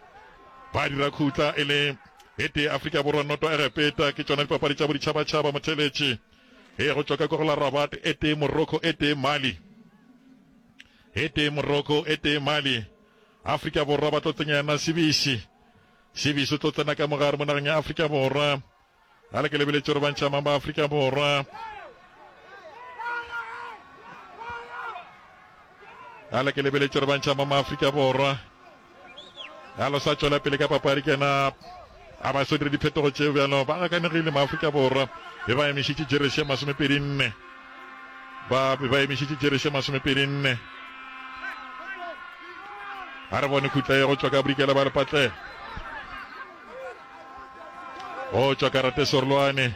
Ba dira khutla e le e tee Afrika Borwa noto Egepeta. Ke tšona dipapadi tša boditšhabatšhaba motheletše. E go tšwa ka kwa go la Rabat e tee Morocco e tee Mali. E tee Morocco e tee Mali. Afrika Borwa ba tlo tsenya yena Sibisi. Sibisi o tlo tsena ka mogare mo nageng ya Afrika Borwa. A le ke lebeletše gore ba ntšha mang ba Afrika Borwa. A le ke lebeletše gore ba ntšha mang ba Afrika Borwa. A lo sa tšwela pele ka papadi kena a ba so dire diphetogo tšeo bjalo ba gakanegile ma Afrika Borwa be ba emišitše jeresi ya masomepedi nne. Ba be ba emišitše jeresi ya masomepedi nne. A re bone khutla ye go tšwa ka bodikela ba lepatlelo. Go tšwa karate Sorlwane.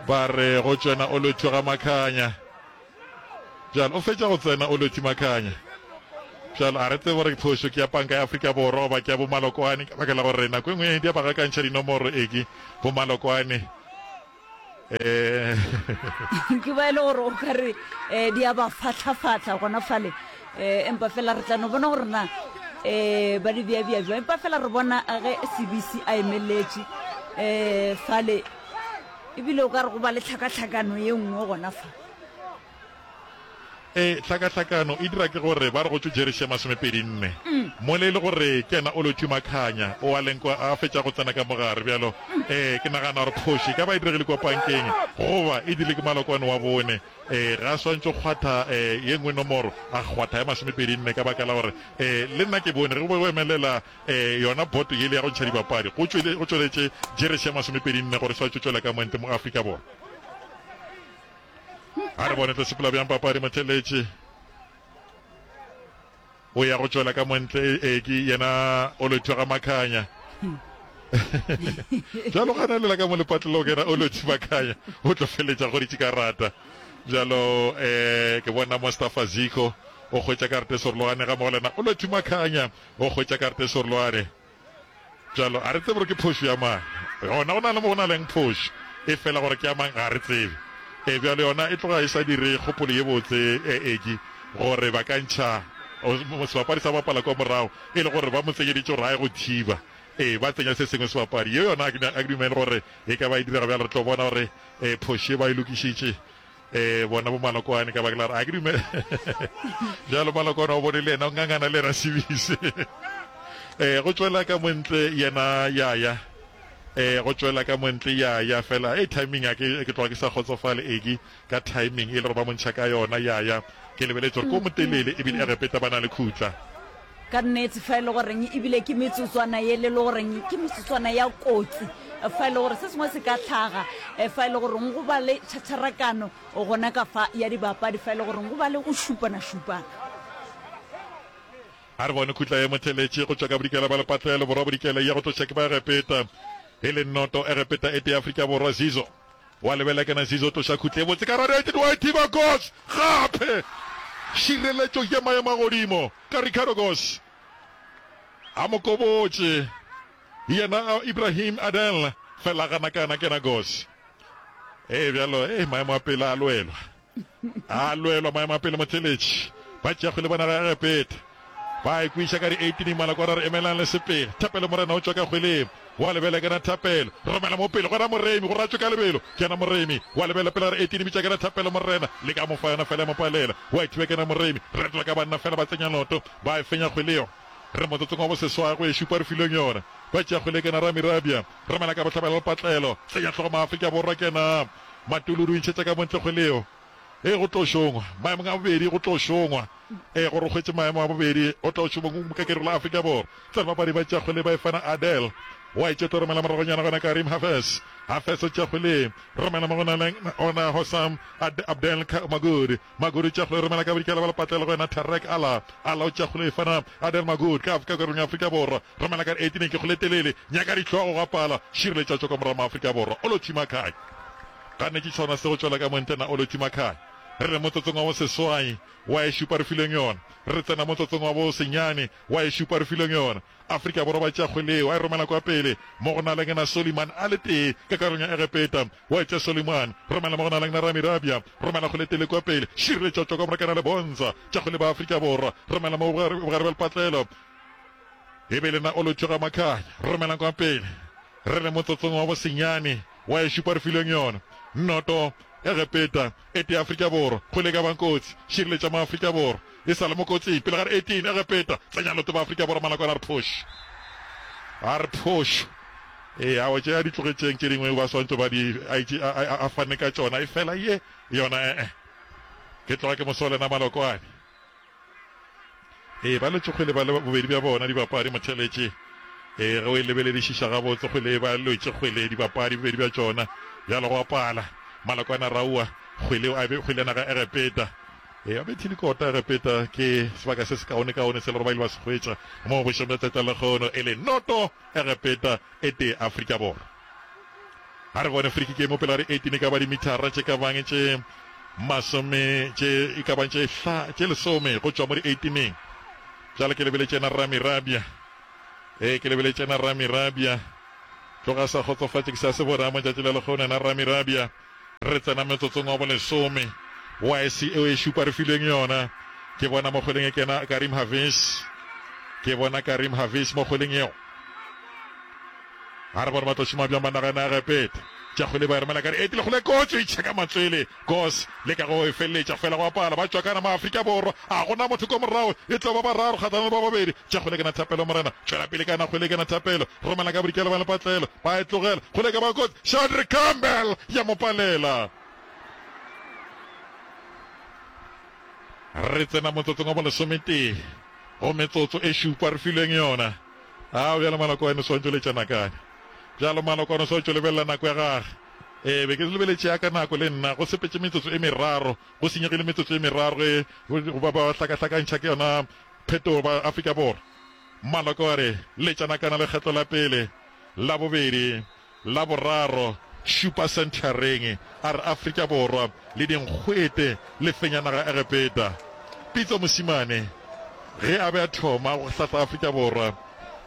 Ba re go tšwena o lotho ga Makhanya. Bjalo o fetša go tsena o lothi Makhanya. Bjalo a re tsebe gore phošo ke ya panka ya Afrika Borwa goba ke ya bomalokwane, ka baka la gore nako e nngwe di a ba gakantšha dinomoro eke bomalokwane. Eh. Ke ba e le gore o ka re eh, di a ba fatlhafatlha gona fale, eh, empa fela re tla no bona gore na eh, ba di bea-bea jwang. Empa fela re bona ge C B C a emeletše eh, fale, ebile o ka re go ba le tlhakatlhakano ye nngwe gona fa. E tlhakatlhakano e dira ke gore ba re go tšwe jeresi ya masomepedi nne mole e le gore ke yena o Lothu Makhanya o a leng kwa a fetša go tsena ka mogare. Bjalo um ke nagana gore phošo e ka ba e diregile kwa pankeng goba e dirile ke malokwane wa bone. um ga a swantše go kgwatha um ye nngwe nomoro, a kgwatha ya masomepedi nne, ka baka la gore um le nna ke bone ge go be go emelela um yona boto yele ya go ntšha dibapadi go tšwele go tšweletše jeresi ya masomepedi nne gore e swantše tšwela ka montle mo Afrika Borwa. A re bone tlo sepela bjang papadi. Motheletše o ya go tšwela ka montle, e ke yena o lotho ga Makhanya. Bjalo ganelela ka mo lepatlelo kena o lotho Makhanya o tlo feletša go ditše karata. Bjalo um ke bona Mustafa Ziko o hwetša karata e serolwane, ga mogo lena o lotho Makhanya o hwetša karata e serolwane. Bjalo a re tsebe gore ke phošo ya mang gona, go na le mo go na leng phošo e fela gore ke ya mang ga re tsebe. E bjalo yona e tloga e sa dire kgopolo ye botse e eki gore ba ka ntšha sebapadi sa bapala kwa morago e le gore ba mo tsenyeditše gore a ye go thiba, e ba tsenya se sengwe sebapadi ye yona a ke dumele gore e ka ba e direga. Bjalo re tlo bona gore um phošo e ba e lokišitše um bona bo malokwane, ka baka la gore a ke dumele. Bjalo malokwane o bone le yena o ngangana le yena sebise um go tšwela ka montle yena yaya, um go tšwela ka montle yaya fela e timing a ke ke tloga ke sa kgotsofale eke ka timing e le gore ba montšha ka yona yaya. Ke lebeletse gore ko motelele ebile Egepeta ba na le khutla. Ka nnete, fa e le goreng ebile ke metsotswana ye le le goreng ke metsotswana ya kotsi, fa e le gore se sengwe se ka tlhaga, fa e le goreng go ba le tšhatšharakano gona ka fa ya dibapadi, fa e le goreng go ba le go šupana-šupana. A re bone khutla ye motheletše go tšwa ka bodikela ba lepatlelo, borwa bodikela ya go tloša ke ba Egepeta e le noto Egepeta e tee Afrika Borwa Zizo. Wa lebela kena Zizo tloša khutla e botse ka radiated wa e thiba Goss gape. Šireletšo ye maemo a godimo ka Ricardo Goss a mo kobotše yena Ibrahim Adel fela gana kana kena Goss. E bjalo e maemo a pele a lwelwa, a lwelwa maemo a pele motheletši ba tšea kgwele ba naga ya Egepeta ba e kwiša ka di eighteen malakwana re emelang le sepele. Thapelo Morena o tšwa ka kgweleng wa lebela kena Thapelo romela mo pele gona Moremi gore a tšwe ka lebelo kena Moremi wa lebela pele re eighteen bitša kena Thapelo Morena le ka mo fa yona fela ya mo palela wa e thiba kena Moremi retola ka banna fela ba tsenya loto ba e fenya kgweleo. Re motsotsong wa boseswai go e šupa re filweng yona ba tšea kgwele kena Rami Rabia romela ka bohlabela lepatlelo tsenya hlogo Maafrika Borwa kena Matululu intšhetša ka montle kgweleo e go tlo šongwa maemong a bobedi go tlo šongwa e gore o hwetše maemo a bobedi o tlo šoma mokakeri la Afrika Borwa. Tsena bapadi ba tšea kgwele ba e fana Adel wa e tšetlo romela moragonyana gona Karim Hafez Hafez o tšea kgwele romela mo gona ona Hosam Abdel Magud Magud o tšea kgwele romela ka bodikela ba lepatlelo go yena Tarek Ala Ala o tšea kgwele e fana Adel Magud ka Afrika karolong ya Afrika Borwa romela ka eighteen ke kgwele telele nyaka dihlogo ga pala šireletša tšo ka morago ma Afrika Borwa o lo thima kae gane ke tšhona se go tšwela ka montle na o lo thima kae. Re re motsotsong wa boseswai wa e šupa re filweng yona, re tsena motsotsong wa bosenyane wa e šupa re filweng yona. Afrika Borwa ba tšea kgwele wa e romela kwa pele mo go na le ngena Soliman a le tee ka karolong ya Egepeta wa e tšea Soliman romela mo go na le ngena Rami Rabia romela kgwele tele kwa pele šireletša tšwa kwa morakana le Bonza tša kgwele ba Afrika Borwa romela mo bogare bja lepatlelo e be lena o lo tšhoga Makhanya romelang kwa pele. Re le motsotsong wa bosenyane wa e šupa re filweng yona. Noto Egepeta e tee Afrika Borwa kgwele e ka bang kotsi šireletša mo Afrika Borwa e sa le mo kotsing pele ga re eighteen Egepeta tsenya loto ba Afrika Borwa malakwana a re phošo a re phošo e awa tše a di tlogetšeng tše dingwe ba swantšo ba di a itše a a fane ka tšona e fela ye yona ee ke tloga ke mosole na malokwane. Ee, ba lwetše kgwele ba le bobedi bja bona dibapadi motheletše. Ee, ge o e lebeledišiša gabotse kgwele ba lwetše kgwele dibapadi bobedi bja tšona. Bjalo go apala Malakwana Raua kgwele a be kgwele ya naga Egepeta. Ee, ba bethile kota Egepeta ke sebaka se sekaonekaone se le gore ba ile ba se hwetša mo bošegong bja tšatši la lekgono e le noto Egepeta e tee Afrika Borwa. A re bone free kick e mo pele ga di eighteen e ka ba dimithara tše ka bang tše masome tše e ka bang tše hla tše lesome go tšwa mo di eighteeneng. Bjale ke lebeletše yena Rami Rabia. Ee, ke lebeletše yena Rami Rabia. Tloga sa kgotsofatše ke sa se bona mo tšatši la lekgono yena Rami Rabia. Re tsena metsotsong wa bolesome wa S eo e šupa re filweng yona. Ke bona mo kgweleng e kena Karim Hafiz. Ke bona Karim Hafiz mo kgweleng yeo. A re bone ba tlo šoma bjang ba naga ya Egepeta. Tša kgwele ba e romela ka di eight le kgole kotsi e tšheka matswele. Goss leka go e feleletša fela go apala ba tšwa kana ma Afrika Borwa. A gona motho ko morago e tlo ba bararo kgahlano le ba babedi. Tša kgwele kana thapelo morena. Tšwela pele kana kgwele kana thapelo. Romela ka bodikela ba lepatlelo. Ba e tlogela. Kgwele ka ba kotsi. Shandre Campbell ya mo palela. Re tsena motsotsong wa bolesometee go metsotso e šupa re filweng yona. A bjalo Malokwane o swantšo letša nakane. Bjalo Malokwane o swantšo lebelela nako ya gage. Ee, be ke lebeletše ya ka nako le nna. Go sepetše metsotso e meraro, go senyegile metsotso e meraro ge ba ba hlakahlakantšha ke yona phetogo ba Afrika Borwa. Maloko a re, Letša nakana lekgetlo la pele, la bobedi, la boraro, šupa senthareng, a re Afrika Borwa le dinkgwete le fenya naga Egepeta. Pitso Mosimane ge a be a thoma go hlahla Afrika Borwa,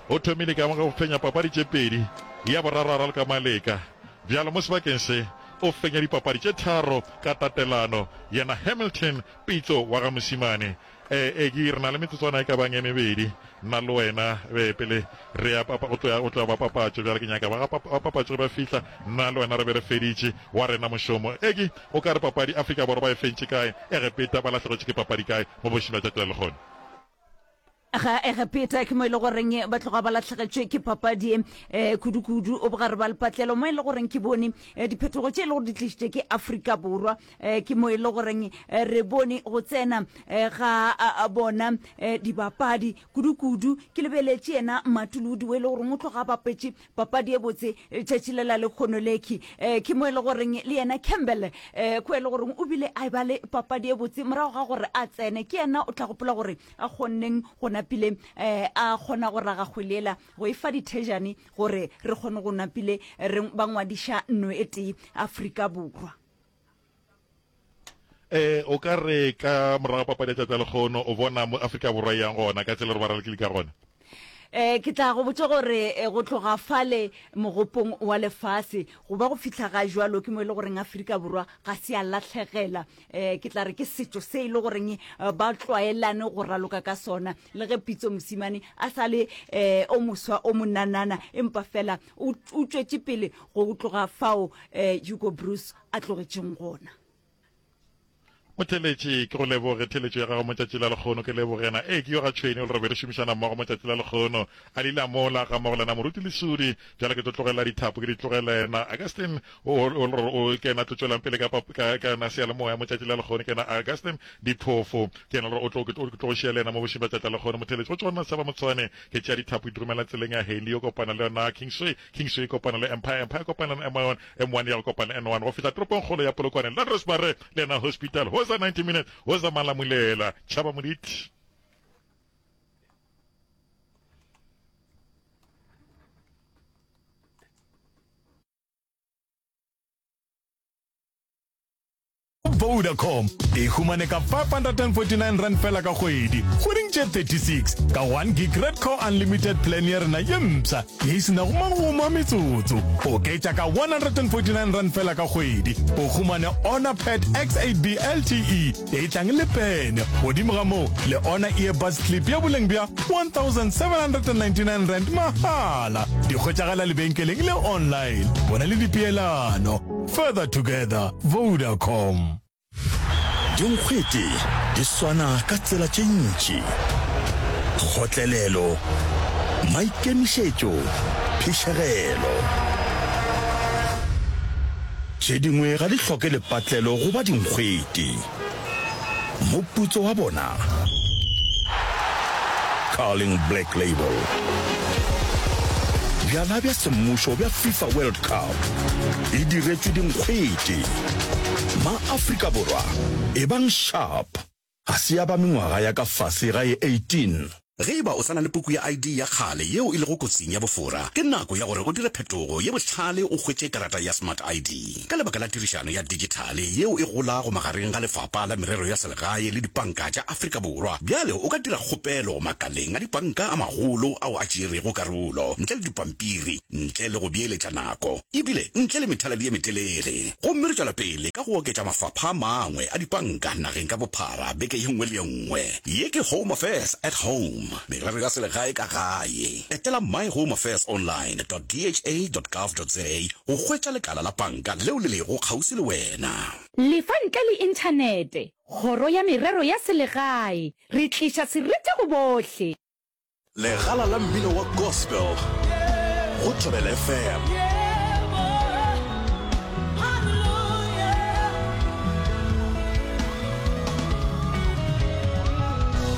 o thomile ka go fenya papadi tše pedi, ya boraro a raloka Maleka. Bjalo mo sebakeng se o fenya dipapadi tše tharo ka tatelano, yena Hamilton Pitso wa ga Mosimane. E, e, ke, re na le metsotswana e ka bang e mebedi, nna le wena, be, pele re ya papa, go tloya, go tloya ba papatšo. Bjale ke nyaka ba ga pap, ba papatšo ge ba fihla, nna le wena re be re feditše wa rena mošomo. Eki, o ka re papadi Afrika Borwa ba e fentše kae, Egepeta ba lahlegetšwe ke papadi kae mo bošing bja tšatši la lehono? Ga Egepeta ke mo e le goreng ba tloga ba lahlegetšwe ke papadi e kudu-kudu o bogare ba lepatlelo, mo e le goreng ke bone diphetogo tše e le gore di tlišitše ke Afrika Borwa, ke mo e le goreng re bone go tsena ga bona dibapadi kudu-kudu. Ke lebeletše yena Matuludi o e le goreng o tloga a bapetše papadi e botse tšatši le la lekgono lekhi, ke mo e le goreng le yena Campbell ko e le goreng o bile a ba le papadi e botse morago ga gore a tsene. Ke yena o tla gopola gore a kgonneng go napile a kgona go raga kgwele yela go e fa dithejane gore re kgone go napile re ba ngwadiša nno e tee Afrika Borwa. E, o ka re ka morago papadi ya tšatši la lekgono o bona mo Afrika Borwa e yang gona ka tsela gore ba ralokile ka gona? E, ke tla go botša gore go tloga fale mogopong wa lefase go ba go fihla ga jwalo ke mo e le goreng Afrika Borwa ga se ya lahlegela. E, ke tla re ke setšo se e le goreng ba tlwaelane go raloka ka sona. Le ge Pitso Mosimane a sa le e, o moswa o monanana, empa fela o, o tšwetše pele go tloga fao e, Hugo Broos a tlogetšeng gona. Motheeletši, ke go leboge theeletšo ya gago motšatši la lekgono. Ke leboge yena. Ee, ke yo ga Tšhwene, o le re be re šomišana mmogo motšatši la lekgono. A lila mola, ga mmogo le yena Moruti Lesudi. Bjale ke tlo tlogela dithapo, ke di tlogela yena. Augustine, o, o, o le re o, ke yena a tlo tšwelang pele ka, ka, ka yona seyalemoya motšatši la lekgono. Ke yena Augustine Diphofo. Ke yena o le re o tlo, ke tlo, ke tlo go šia le yena mo bošeng bja tšatši la lekgono. Motheeletši, go tšwa go nna Seba Motshwane, ke tšea dithapo ke di romela tseleng ya Haley, yo kopana le yona Kingsway, Kingsway e kopana le Empire, Empire e kopana le M one, M one ya go kopana le N one go fihla toropongkgolo ya Polokwane, Landros Mare le yena Hospital. Hoza ninety minutes, hoza Malamulela. Tšhaba Moditi. Vodacom e humane ka five hundred and forty nine rand fela ka kgwedi kgweding tše thirty six ka one gig Redco Unlimited plan ya rena ye mpsha ye e se nago magomo a metsotso. Oketša ka one hundred and forty nine rand fela ka kgwedi o humane Honor Pad X eight B L T E ye e tlang le pene, godimo ga moo le Honor Earbuds Clip ya boleng bja one thousand seven hundred and ninety nine rand mahala. Di hwetšagala lebenkeleng le online. Bona le dipeelano. Further together, Vodacom. Dinkgwete di swana ka tsela tše ntši, kgotlelelo, maikemišetšo, phišegelo. Tše dingwe ga di hloke lepatlelo go ba dinkgwete. Moputso wa bona? Carling Black Label. Bjala bja semmušo bja FIFA World Cup e diretšwe dinkgwete. Ma-Afrika Borwa, ebang sharp! Ga se ya ba mengwaga ya ka fase ga ye eighteen. Ge e ba o sa na le puku ya I D ya kgale yeo e lego kotsing ya bofora, ke nako ya gore o dire phetogo ye bohlale o hwetše karata ya Smart I D. Ka lebaka la tirišano ya dijithale yeo e golago magareng ga Lefapha la Merero ya Selegae le dipanka tša Afrika Borwa, bjale o ka dira kgopelo makaleng a dipanka a magolo ao a tšerego karolo ntle le dipampiri, ntle le go beeletša nako e bile ntle le methaladi ye metelele. Gomme re tšwela pele ka go oketša mafapha a mangwe a dipanka nageng ka bophara beke ye nngwe le ye nngwe. Ye ke Home Affairs at Home, merero ya selegae ka gae. Etela myhomeaffairsonline dot D H A dot gov dot za go hwetša lekala la panka leo le lego kgauswi le wena. Lefa ntle le inthanete. Kgoro ya Merero ya Selegae, re tliša seriti go bohle. Legala la mmino wa gospel go Thobela F M.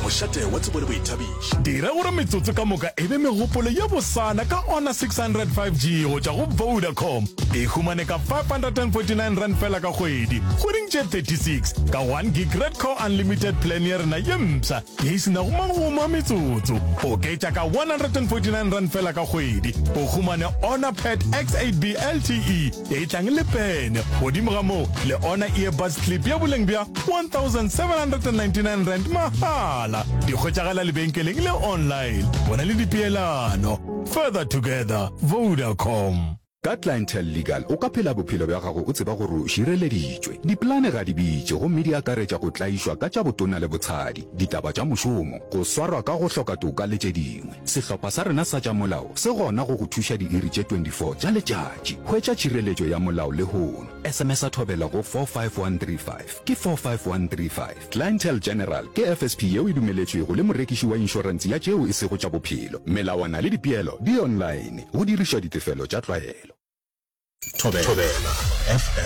Mošate wa tsebo le boithabišo. Dira gore metsotso ka moka e be megopolo ye bosana ka Honor six hundred five G go tšwa go Vodacom. E humane ka five hundred and forty-nine rand fela ka kgwedi, kgweding tše thirty-six, ka one gig Redco Unlimited plan ya rena ye mpsha ye e se nago magomo a metsotso. Oketša ka one hundred and forty-nine rand fela ka kgwedi, o humane Honor Pad X eight B L T E ye e tlang le pene. Godimo ga moo, le Honor Earbuds Clip ya boleng bja one thousand seven hundred and ninety-nine rand mahala. Di hwetšagala lebenkeleng le online. Bona le dipeelano. Further together, Vodacom. Ka Clientele Legal o ka phela bophelo bja gago o tseba gore o šireleditšwe. Dipolane ga di bitše gomme di akaretša go tlaišwa ka tša botona le botshadi, ditaba tša mošomo, go swarwa ka go hloka toka le tše dingwe. Sehlopha sa rena sa tša molao se gona go go thuša diiri tše twenty-four tša letšatši. Hwetša tšhireletšo ya molao lehono. S M S a Thobela go four five one three five. Ke four five one three five. Clientele General ke F S P yeo e dumeletšwego le morekiši wa inšorense ya tšeo e sego tša bophelo. Melawana le dipeelo di online. Go dirišwa ditefelo tša tlwaelo. Thobela F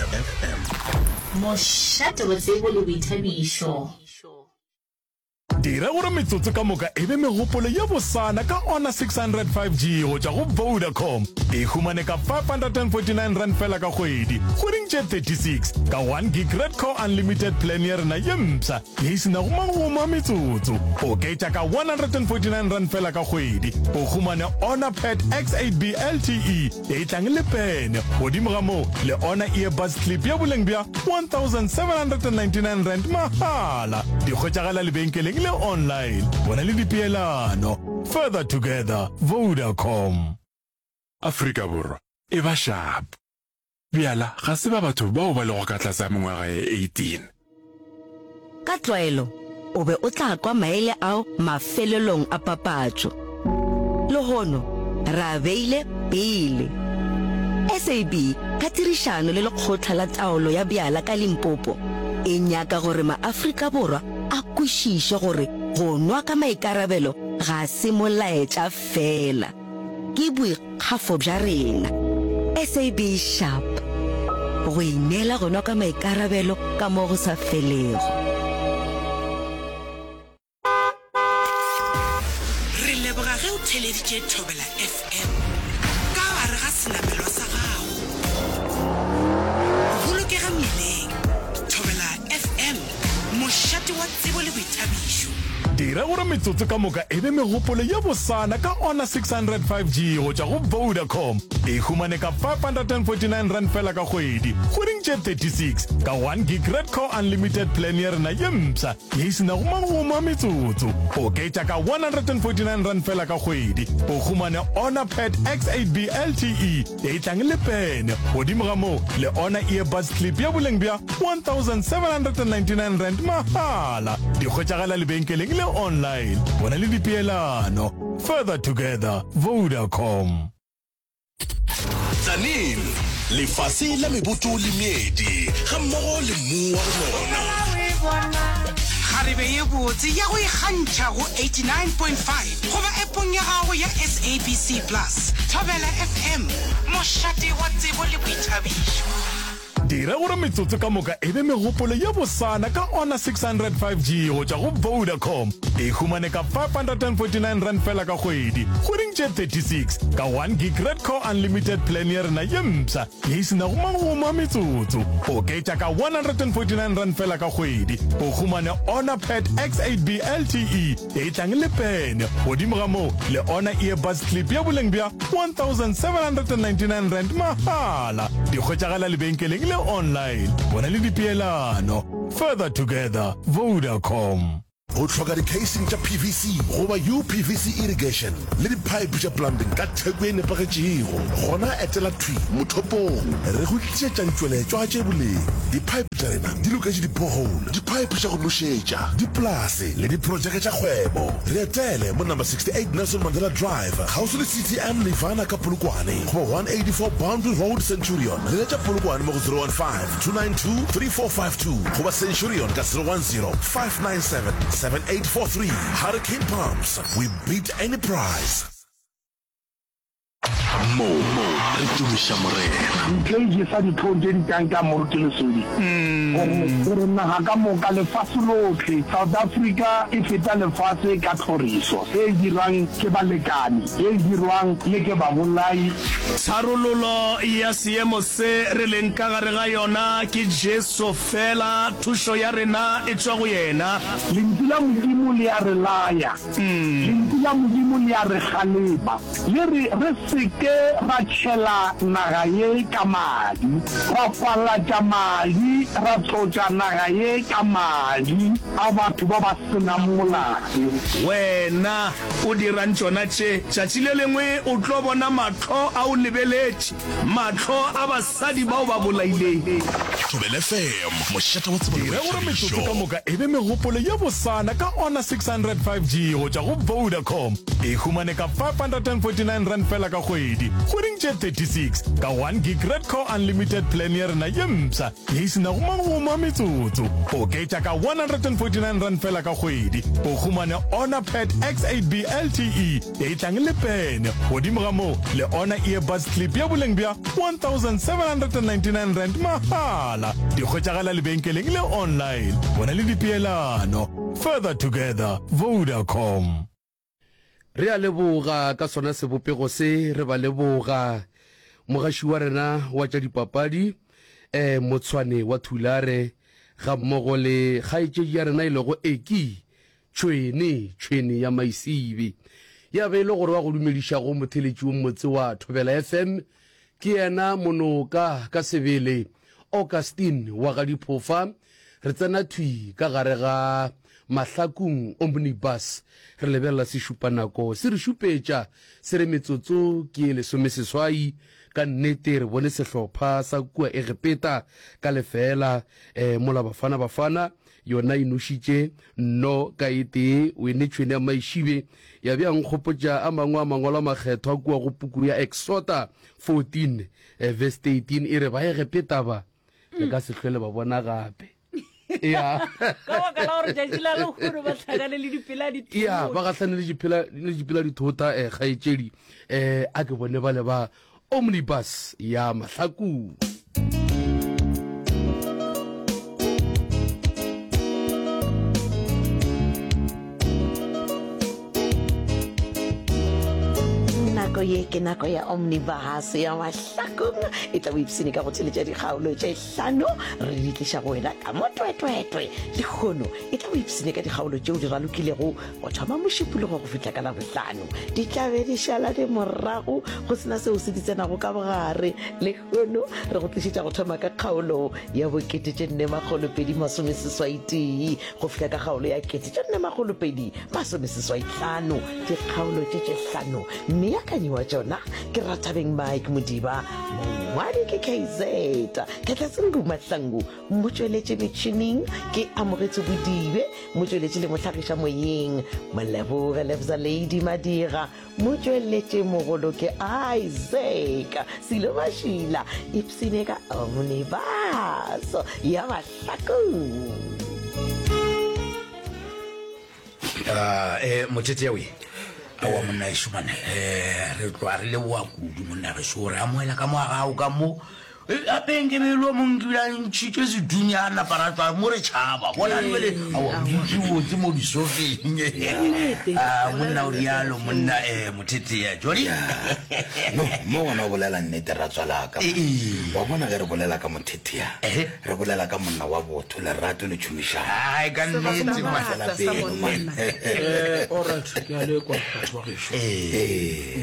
M. Mošate wa tsebo le boithabišo. Dira gore metsotso ka moka e be megopolo ye bosana ka Honor six hundred five G go tšwa go Vodacom. E humane ka five hundred and forty-nine rand fela ka kgwedi, kgweding tše thirty-six, ka one gig Redco Unlimited plan ya rena ye mpsha ye e se nago magomo a metsotso. Oketša ka one hundred and forty-nine rand fela ka kgwedi, o humane Honor Pad X eight B L T E ye e tlang le pene. Godimo ga moo, le Honor Earbuds Clip ya boleng bja one thousand seven hundred and ninety-nine rand mahala. Di hwetšagala lebenkeleng le online. Bona le dipeelano. Further together, Vodacom. Afrika Borwa e ba sharp. Bjala ga se ba batho bao ba lego ka tlase ga mengwaga ye eighteen. Ka tlwaelo o be o tla kwa maele ao mafelelong a papatšo. Lehono re a beile pele. S A B ka tirišano le Lekgotla la Taolo ya Bjala ka Limpopo e nyaka gore maAfrika Borwa a kwešiše gore go nwa ka maikarabelo ga se molaetša fela, ke boikgafo bja rena. S A B Sharp, go ineela go nwa ka maikarabelo ka mo go sa felego. Re leboga ge o theeleditše Thobela F M ka gare ga senamelwa sa gago. Bolokega mmileng. Thobela F M, mošate wa tsebo le boithabišo. Dira gore metsotso ka moka e be megopolo ye bosana ka Honor six hundred five G go tšwa go Vodacom. E humane ka five hundred and forty-nine rand fela ka kgwedi, kgweding tše thirty-six, ka one gig Redco Unlimited plan ya rena ye mpsha ye e se nago magomo a metsotso. Oketša ka one hundred and forty-nine rand fela ka kgwedi, o humane Honor Pad X eight B L T E ye e tlang le pene. Godimo ga moo, le Honor Earbuds Clip ya boleng bja one thousand seven hundred and ninety-nine rand mahala. Di hwetšagala lebenkeleng le online. Bona le dipeelano. Further together, Vodacom. Tzaneen, lefase la meboto le meedi gammogo le mmu wa go nona. Kgarebe ye botse ya go ikgantšha go eighty-nine point five goba appong ya gago ya S A B C Plus. Thobela F M, mošate wa tsebo le boithabišo. Dira gore metsotso ka moka e be megopolo ye bosana ka Honor six hundred five G go tšwa go Vodacom. E humane ka five hundred and forty nine rand fela ka kgwedi, kgweding tše thirty six, ka one gig Redco Unlimited plan ya rena ye mpsha ye e se nago magomo a metsotso. Oketša ka one hundred and forty nine rand fela ka kgwedi, o humane Honor Pad X eight B L T E ye e tlang le pene. Godimo ga moo, le Honor Earbuds Clip ya boleng bja one thousand seven hundred and ninety nine rand mahala. Di hwetšagala lebenkeleng le online. Bona le dipeelano. Further together, Vodacom. O hloka di-casing tša P V C goba U P V C irrigation le di-pipe tša plumbing ka theko e nepagetšego? Gona etela thwi mothopong. Re go tlišetša ditšweletšwa tše boleng. Di-pipe tša rena di loketše di-borehole, di-pipe tša go nošetša, dipolase le diprojeke tša kgwebo. Re etele mo number sixty-eight Nelson Mandela Drive, kgauswi le C T M Nirvana ka Polokwane, goba one eighty-four Boundary Road, Centurion. Leletša Polokwane mo go zero one five, two nine two, three four five two goba Centurion ka zero one zero, five nine seven, seven eight four three. Hurricane Pumps, we beat any price. Mo re tumiša Morena. Ntle e jesa dihlong tše di tlang ka Moruti Lesodi gore gore naga ka moka, lefase lohle, South Africa e feta lefase ka tlhoriso e dirwang ke balekane, e dirwang le ke babolai. Tharololo ya seemo se re leng ka gare ga yona ke Jesu fela, thušo ya rena e tšwa go yena. Lentšu la Modimo le a re laya. Lentšu la Modimo le a re kgalema. Le re re se ke ra tšhela naga ye ka madi, ra falatša madi, ra tlotša naga ye ka madi a batho ba ba se nang molato. Wena o dirang tšona tše? Tšatši le lengwe o tlo bona mahlo a o lebeletše, mahlo a basadi bao ba bolaileng. Thobela F M, mošate wa tsebo le Dira gore metsotso boithabišo. ka moka e be megopolo ye bosana ka Honor six hundred five G go tšwa go Vodacom. E humane ka five hundred and forty nine rand fela ka kgwedi, kgweding tše thirty six, ka one gig Redco Unlimited plan ya rena ye mpsha ye e se nago magomo a metsotso. Oketša ka one hundred and forty nine rand fela ka kgwedi, o humane Honor Pad X eight B L T E ye e tlang le pene. Godimo ga moo, le Honor Earbuds Clip ya boleng bja one thousand seven hundred and ninety nine rand mahala. Di hwetšagala lebenkeleng le online. Bona le dipeelano. Further together, Vodacom. Re a leboga ka sona sebopego se, re ba leboga mogaši wa rena wa tša dipapadi eh Motshwane wa Thulare ga mmogo le kgaetšedi ya rena e lego Eki Tšhwene, Tšhwene ya Maisibe. Ya be e le gore wa go dumedišago motheletši wo mmotse wa Thobela F M ke yena Monoka ka sebele Augustine wa ga Diphofa. Re tsena thwi ka gare ga Mahlakung Omnibus, re lebelela sešupanako se re šupetša se re metsotso ke ye lesomeseswai. Ka nnete re bone sehlopha sa kua Egepeta ka lefeela, eh, mola Bafana Bafana yona e nošitše nno ka e tee. O ene tšhwene ya Maišibe ya bea nkgopotša a mangwe a mangwalo a makgethwa kua go puku ya Exota fourteen, eh, verse thirteen e re Baegepeta ba le ka se hlwele ba bona gape. Ya. Ka baka la gore tšatši la lehono ba hlakane le dipela dithota. Ya, ba gahlane le dipela, le dipela dithota, eh, kgaetšedi. Eh, a ke bone bale ba Omnibus ya Mahlakung. Nako ye ke nako ya Omnibus ya Mahlakung. E tla o ipshine ka go theletša dikgaolo tše hlano re di tliša go wena ka motwetwetwe. Lehono e tla o ipshine ka dikgaolo tšeo di ralokilego go thoma Mošupologo go fihla ka Labohlano. Di tla be di šala di morago go sena seo se di tsenago ka bogare. Lehono re go tlišetša go thoma ka kgaolo ya bokete tše nne makgolo pedi masome seswai tee go fihla ka kgaolo ya kete tše nne makgolo pedi masome seswai hlano. Dikgaolo tše tše hlano mmeakanyi wa tšona ke Rathabeng Mike Modiba, mongwadi ke K Z Ketlatsengu Mahlangu, motšweletši metšhineng ke Amogetso Bodibe, motšweletši le mohlagiša moyeng Moleboge Lefza Lady Madira, motšweletši mogolo ke Isaac Silo Mašila. Ipsine ka Omnibus ya Mahlakung. Ah, eh, mothethe we aowa monna ešo mane, eh, re tloga re leboga kudu monna gešo, re amohela ka mo ga gago ka mo, Gape nke be e le o mongwe ke bile a ntšhitše sethunya a napa ra tšwa mo re tšhaba. Bona bjale, aowa, o dutše botse mo disofeng. Ah, monna o rialo, monna eh, Mothetea. Jody? No, mo gona o bolela nnete, ratswalaka. Wa bona ge re bolela ka Mothetea, re bolela ka monna wa botho, lerato le tšhomišano. Ai, ka nnete, man. Fela pelo, man. Eh, alright, ke a le kwa batho ba gešo.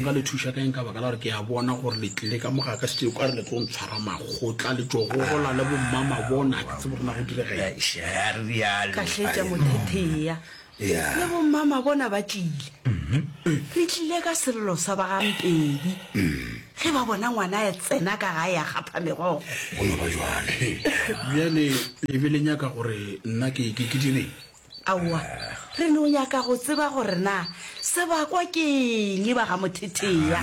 Nka le thuša ka eng ka baka la gore ke a bona gore le tlile ka mo ga ka šetše ka re le tlo ntshwara makgotla le tšo gogola le bommamabona, ga ke tsebe gore na go direga eng. A re rialo. Ka hletša Mothetheya le bommamabona ba tlile. Re tlile ka sello sa ba ga Mpedi ge ba bona ngwana a tsena ka gae a kgapha megogo. Go no ba bjalo. Bjale le be le nyaka gore nna ke ke ke direng? Aowa, re no nyaka go tseba gore na sebakwa ke eng ba ga Mothetheya.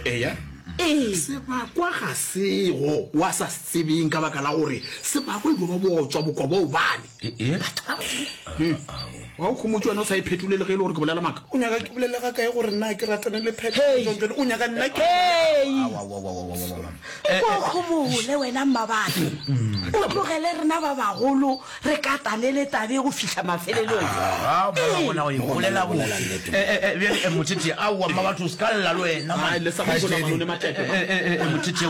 Eya. Ee. Sebakwa ga sego wa sa se tsebeng ka baka la gore sebakwa e dio ba bootswa bokwa boo bane. Batho ba Modimo. Wa o khomotše wena o sa e phetole le ge e le gore ke bolela maaka. O nyaka ke bolele ga kae gore nna ke ratane le Phetolo jwang jwale? O nyaka nna ke. Hei! O ko khomole wena Mmabatho. O tlogele rena ba bagolo re katane le tabe go fihla mafelelong. Ah, ba ba bona go e bolela botse. Eh, eh, eh, bjale eh, Mothethe, aowa Mmabatho o se ka lla le wena man. Ai, le sa go bola malone matepe, man. Eh, eh, eh, Mothethe,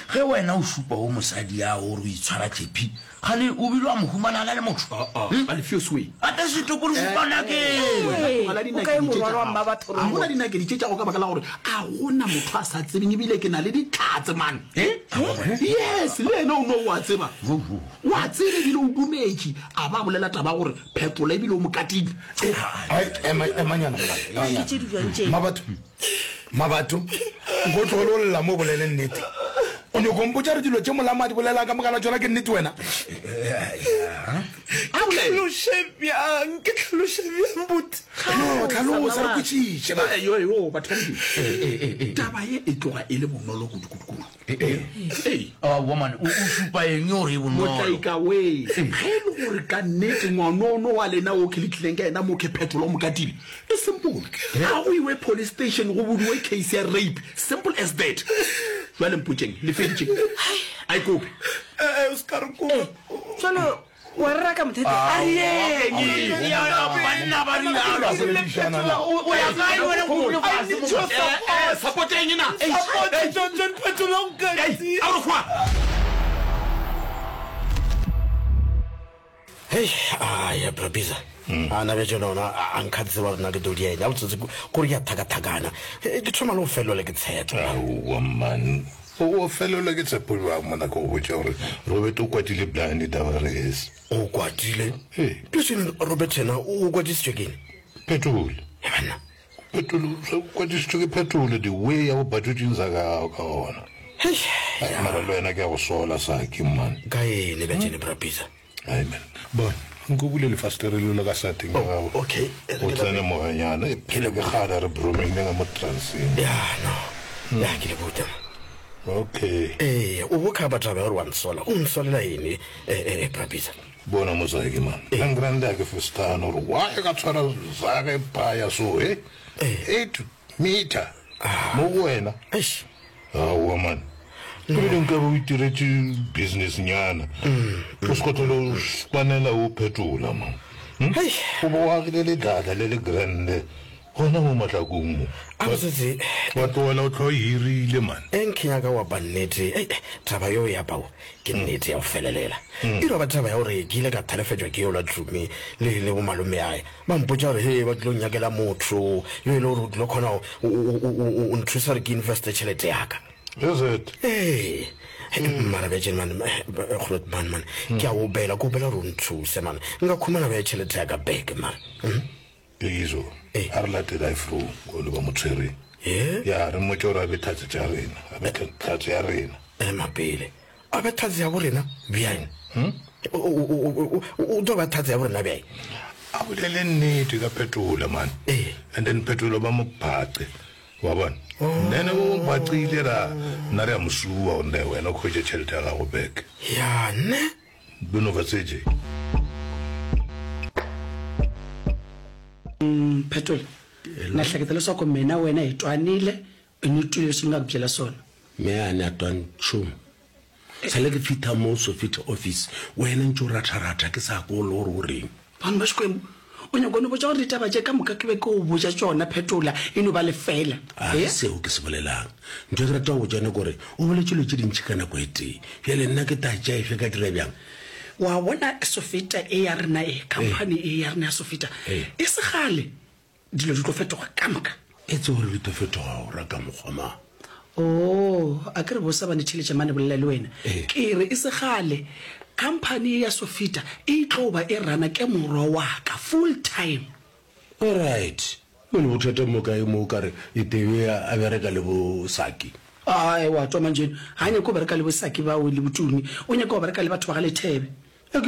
ge wena o šupa go mosadi ya gore o itshwara tšepi, gane o bile wa mo humana a na le motho? A le feel sway. Ate setopo re šupa nakeng. Tlogela O kae dinakedi tše morwalo tša wa gago. Mmabatho A gona Rombo? dinakedi tše tša gago ka baka la gore a gona motho a sa tsebeng ebile ke na le dihlatse man. Yes, le yena o no o a tseba. O a tseba ebile o dumetše a ba bolela taba ya gore Phetola ebile o mo katile. Ai, ema, emanyana, molala. Ke tše di bjang tše? Mmabatho, Mmabatho, nko tlogele o lla mo o bolele nnete. O nyoko mpotša gore dilo tše molamo a di bolelang ka moka la tšona ke nnete wena? Ke hlaloše bjang? Ke hlaloše bjang buti? No, hlalosa re kwešiše. Eh, yo, yo, batho ba Modimo. Taba ye e tloga e le bonolo kudu-kudu-kudu. Ee. Aowa man, o o šupa eng gore e bonolo? Motlaika wee, ge e le gore ka nnete ngwanono wa lena wo ke le tlileng ka yena mo ke Phetola o mo katile, e simple. Ga go iwe police station go budiwe case ya rape, simple as that. Jwale mpotšeng, le feditše? A e kope. Eh, o se ka re kopa. Jwale wa re raka Mothethe? A re yeng. Banna ba rialo. O ya kae wena o dule fase mo? Eh, eh, support eng na? Support John John Phetola o nkatile. Ei, a re hwa. Hei, a ya Brabisa. A na bja tšona ona a nkha tseba gore na ke tlo di eng. A botsotsi kore ke a thakathakana. Ke thoma le go felelwa le ke tshepo. Aowa man, o felelwa ke tshepo bjang mona ke go botša gore Robert o kwatile blind Tavares. O kwatile? Bjale Robert yena o kwatisitšwe ke eng? Phetola. Banna. Phetola, o kwatisitšwe ke Phetola the way ya go batšotšeng sa ka ka gona. Hei. Mara le wena ke a go sola Saki man. Ka eng bja tšene Brabisa? Amen. Bona, nko bule lefastere leo le ka sateng ya gago. Okay. O tsene moyanyana, e phele ke kgale re bromile ka mo transeng. Ya, no. Ya, ke le buta. Okay. Ee, o bo kha batho ba gore wa nsola. O nsolela eng, eh, eh, Brabisa? Bona mosadi man. Ka grande ke festano gore why ka tshwara zage paya so, eh? Eight meter. Mo go wena. Eish. Aowa man. Ebile nka be o itiretše business nyana. O se ka tlhola o spanela o phetola man. O bo o agile ledladla le le grande gona mo mahlakong mo. A botsotsi. Wa tlogela o tlho hirile man. E nkenya ka wa ba nnete. Ei, taba yeo ya pao ke nnete ya go felelela. E no ba taba ya gore ke ile ka thalefetšwa ke yola Tumi le le bo malome ae. Ba mpotša gore he ba tlilo nyakela motho yo e le gore o tlilo kgona o nthusa gore ke investe tšhelete ya ka. Is it? Ee. Mara bja tšene man, Groot man man, ke a opela, ke opela gore o nthuse man. Nka khumana bja tšhelete ya ka back man. Izo, a re latele ifro go le ba mo tshwereng. Ya re mmotše gore a be tlhatse tša rena, a be tlhatse ya rena. Ema pele, a be tlhatse ya borena bjang? O tlo ba tlhatse ya borena bjang? A bolele nnete ka Phetola man. And then Phetola ba mo phace. Wa bona? Then o mo phacile ra nna re a mo sua gonne wena o khwetše tšhelete ya gago back. Ya ne? Bono ba tseje. Phetola, na hleketa leswaku mina wena hi twanile i ni twile leswi ni nga ku byela swona. Me a ni a twa nchumu. Sale ke fitha mo Sofita office, wena ntše o ratharatha ke sa ko le gore o reng. Vanhu ba Xikwembu, o nyaka go no botša gore ditaba tše ka moka ke be ke o botša tšona, Phetola e no ba lefeela. A ke seo ke se bolelang. Ntho e ke rata go botša yona ke gore o boletše dilo tše dintši ka nako e tee. Bjale nna ke tla tšea efe ka dira bjang? Wa bona Sofita e ya rena e, khamphani e ya rena ya Sofita, e se kgale dilo di tlo fetoga ka moka. Etse gore di tlo fetoga o ra ka mokgwa mang? Oo, a ke re bosa ba netheletša mane bolela le wena. Ke re e se kgale khamphani ye ya Sofita e tlo ba e rana ke morwa wa ka full time. Alright. Bjale bothata mo kae mo o ka re Itebe a bereka le bo Saki? Ae, wa twa manjeno. Ga a nyake go bereka le bo Saki bao le bo Tumi. O nyaka go bereka le batho ba ga Lethebe. A ke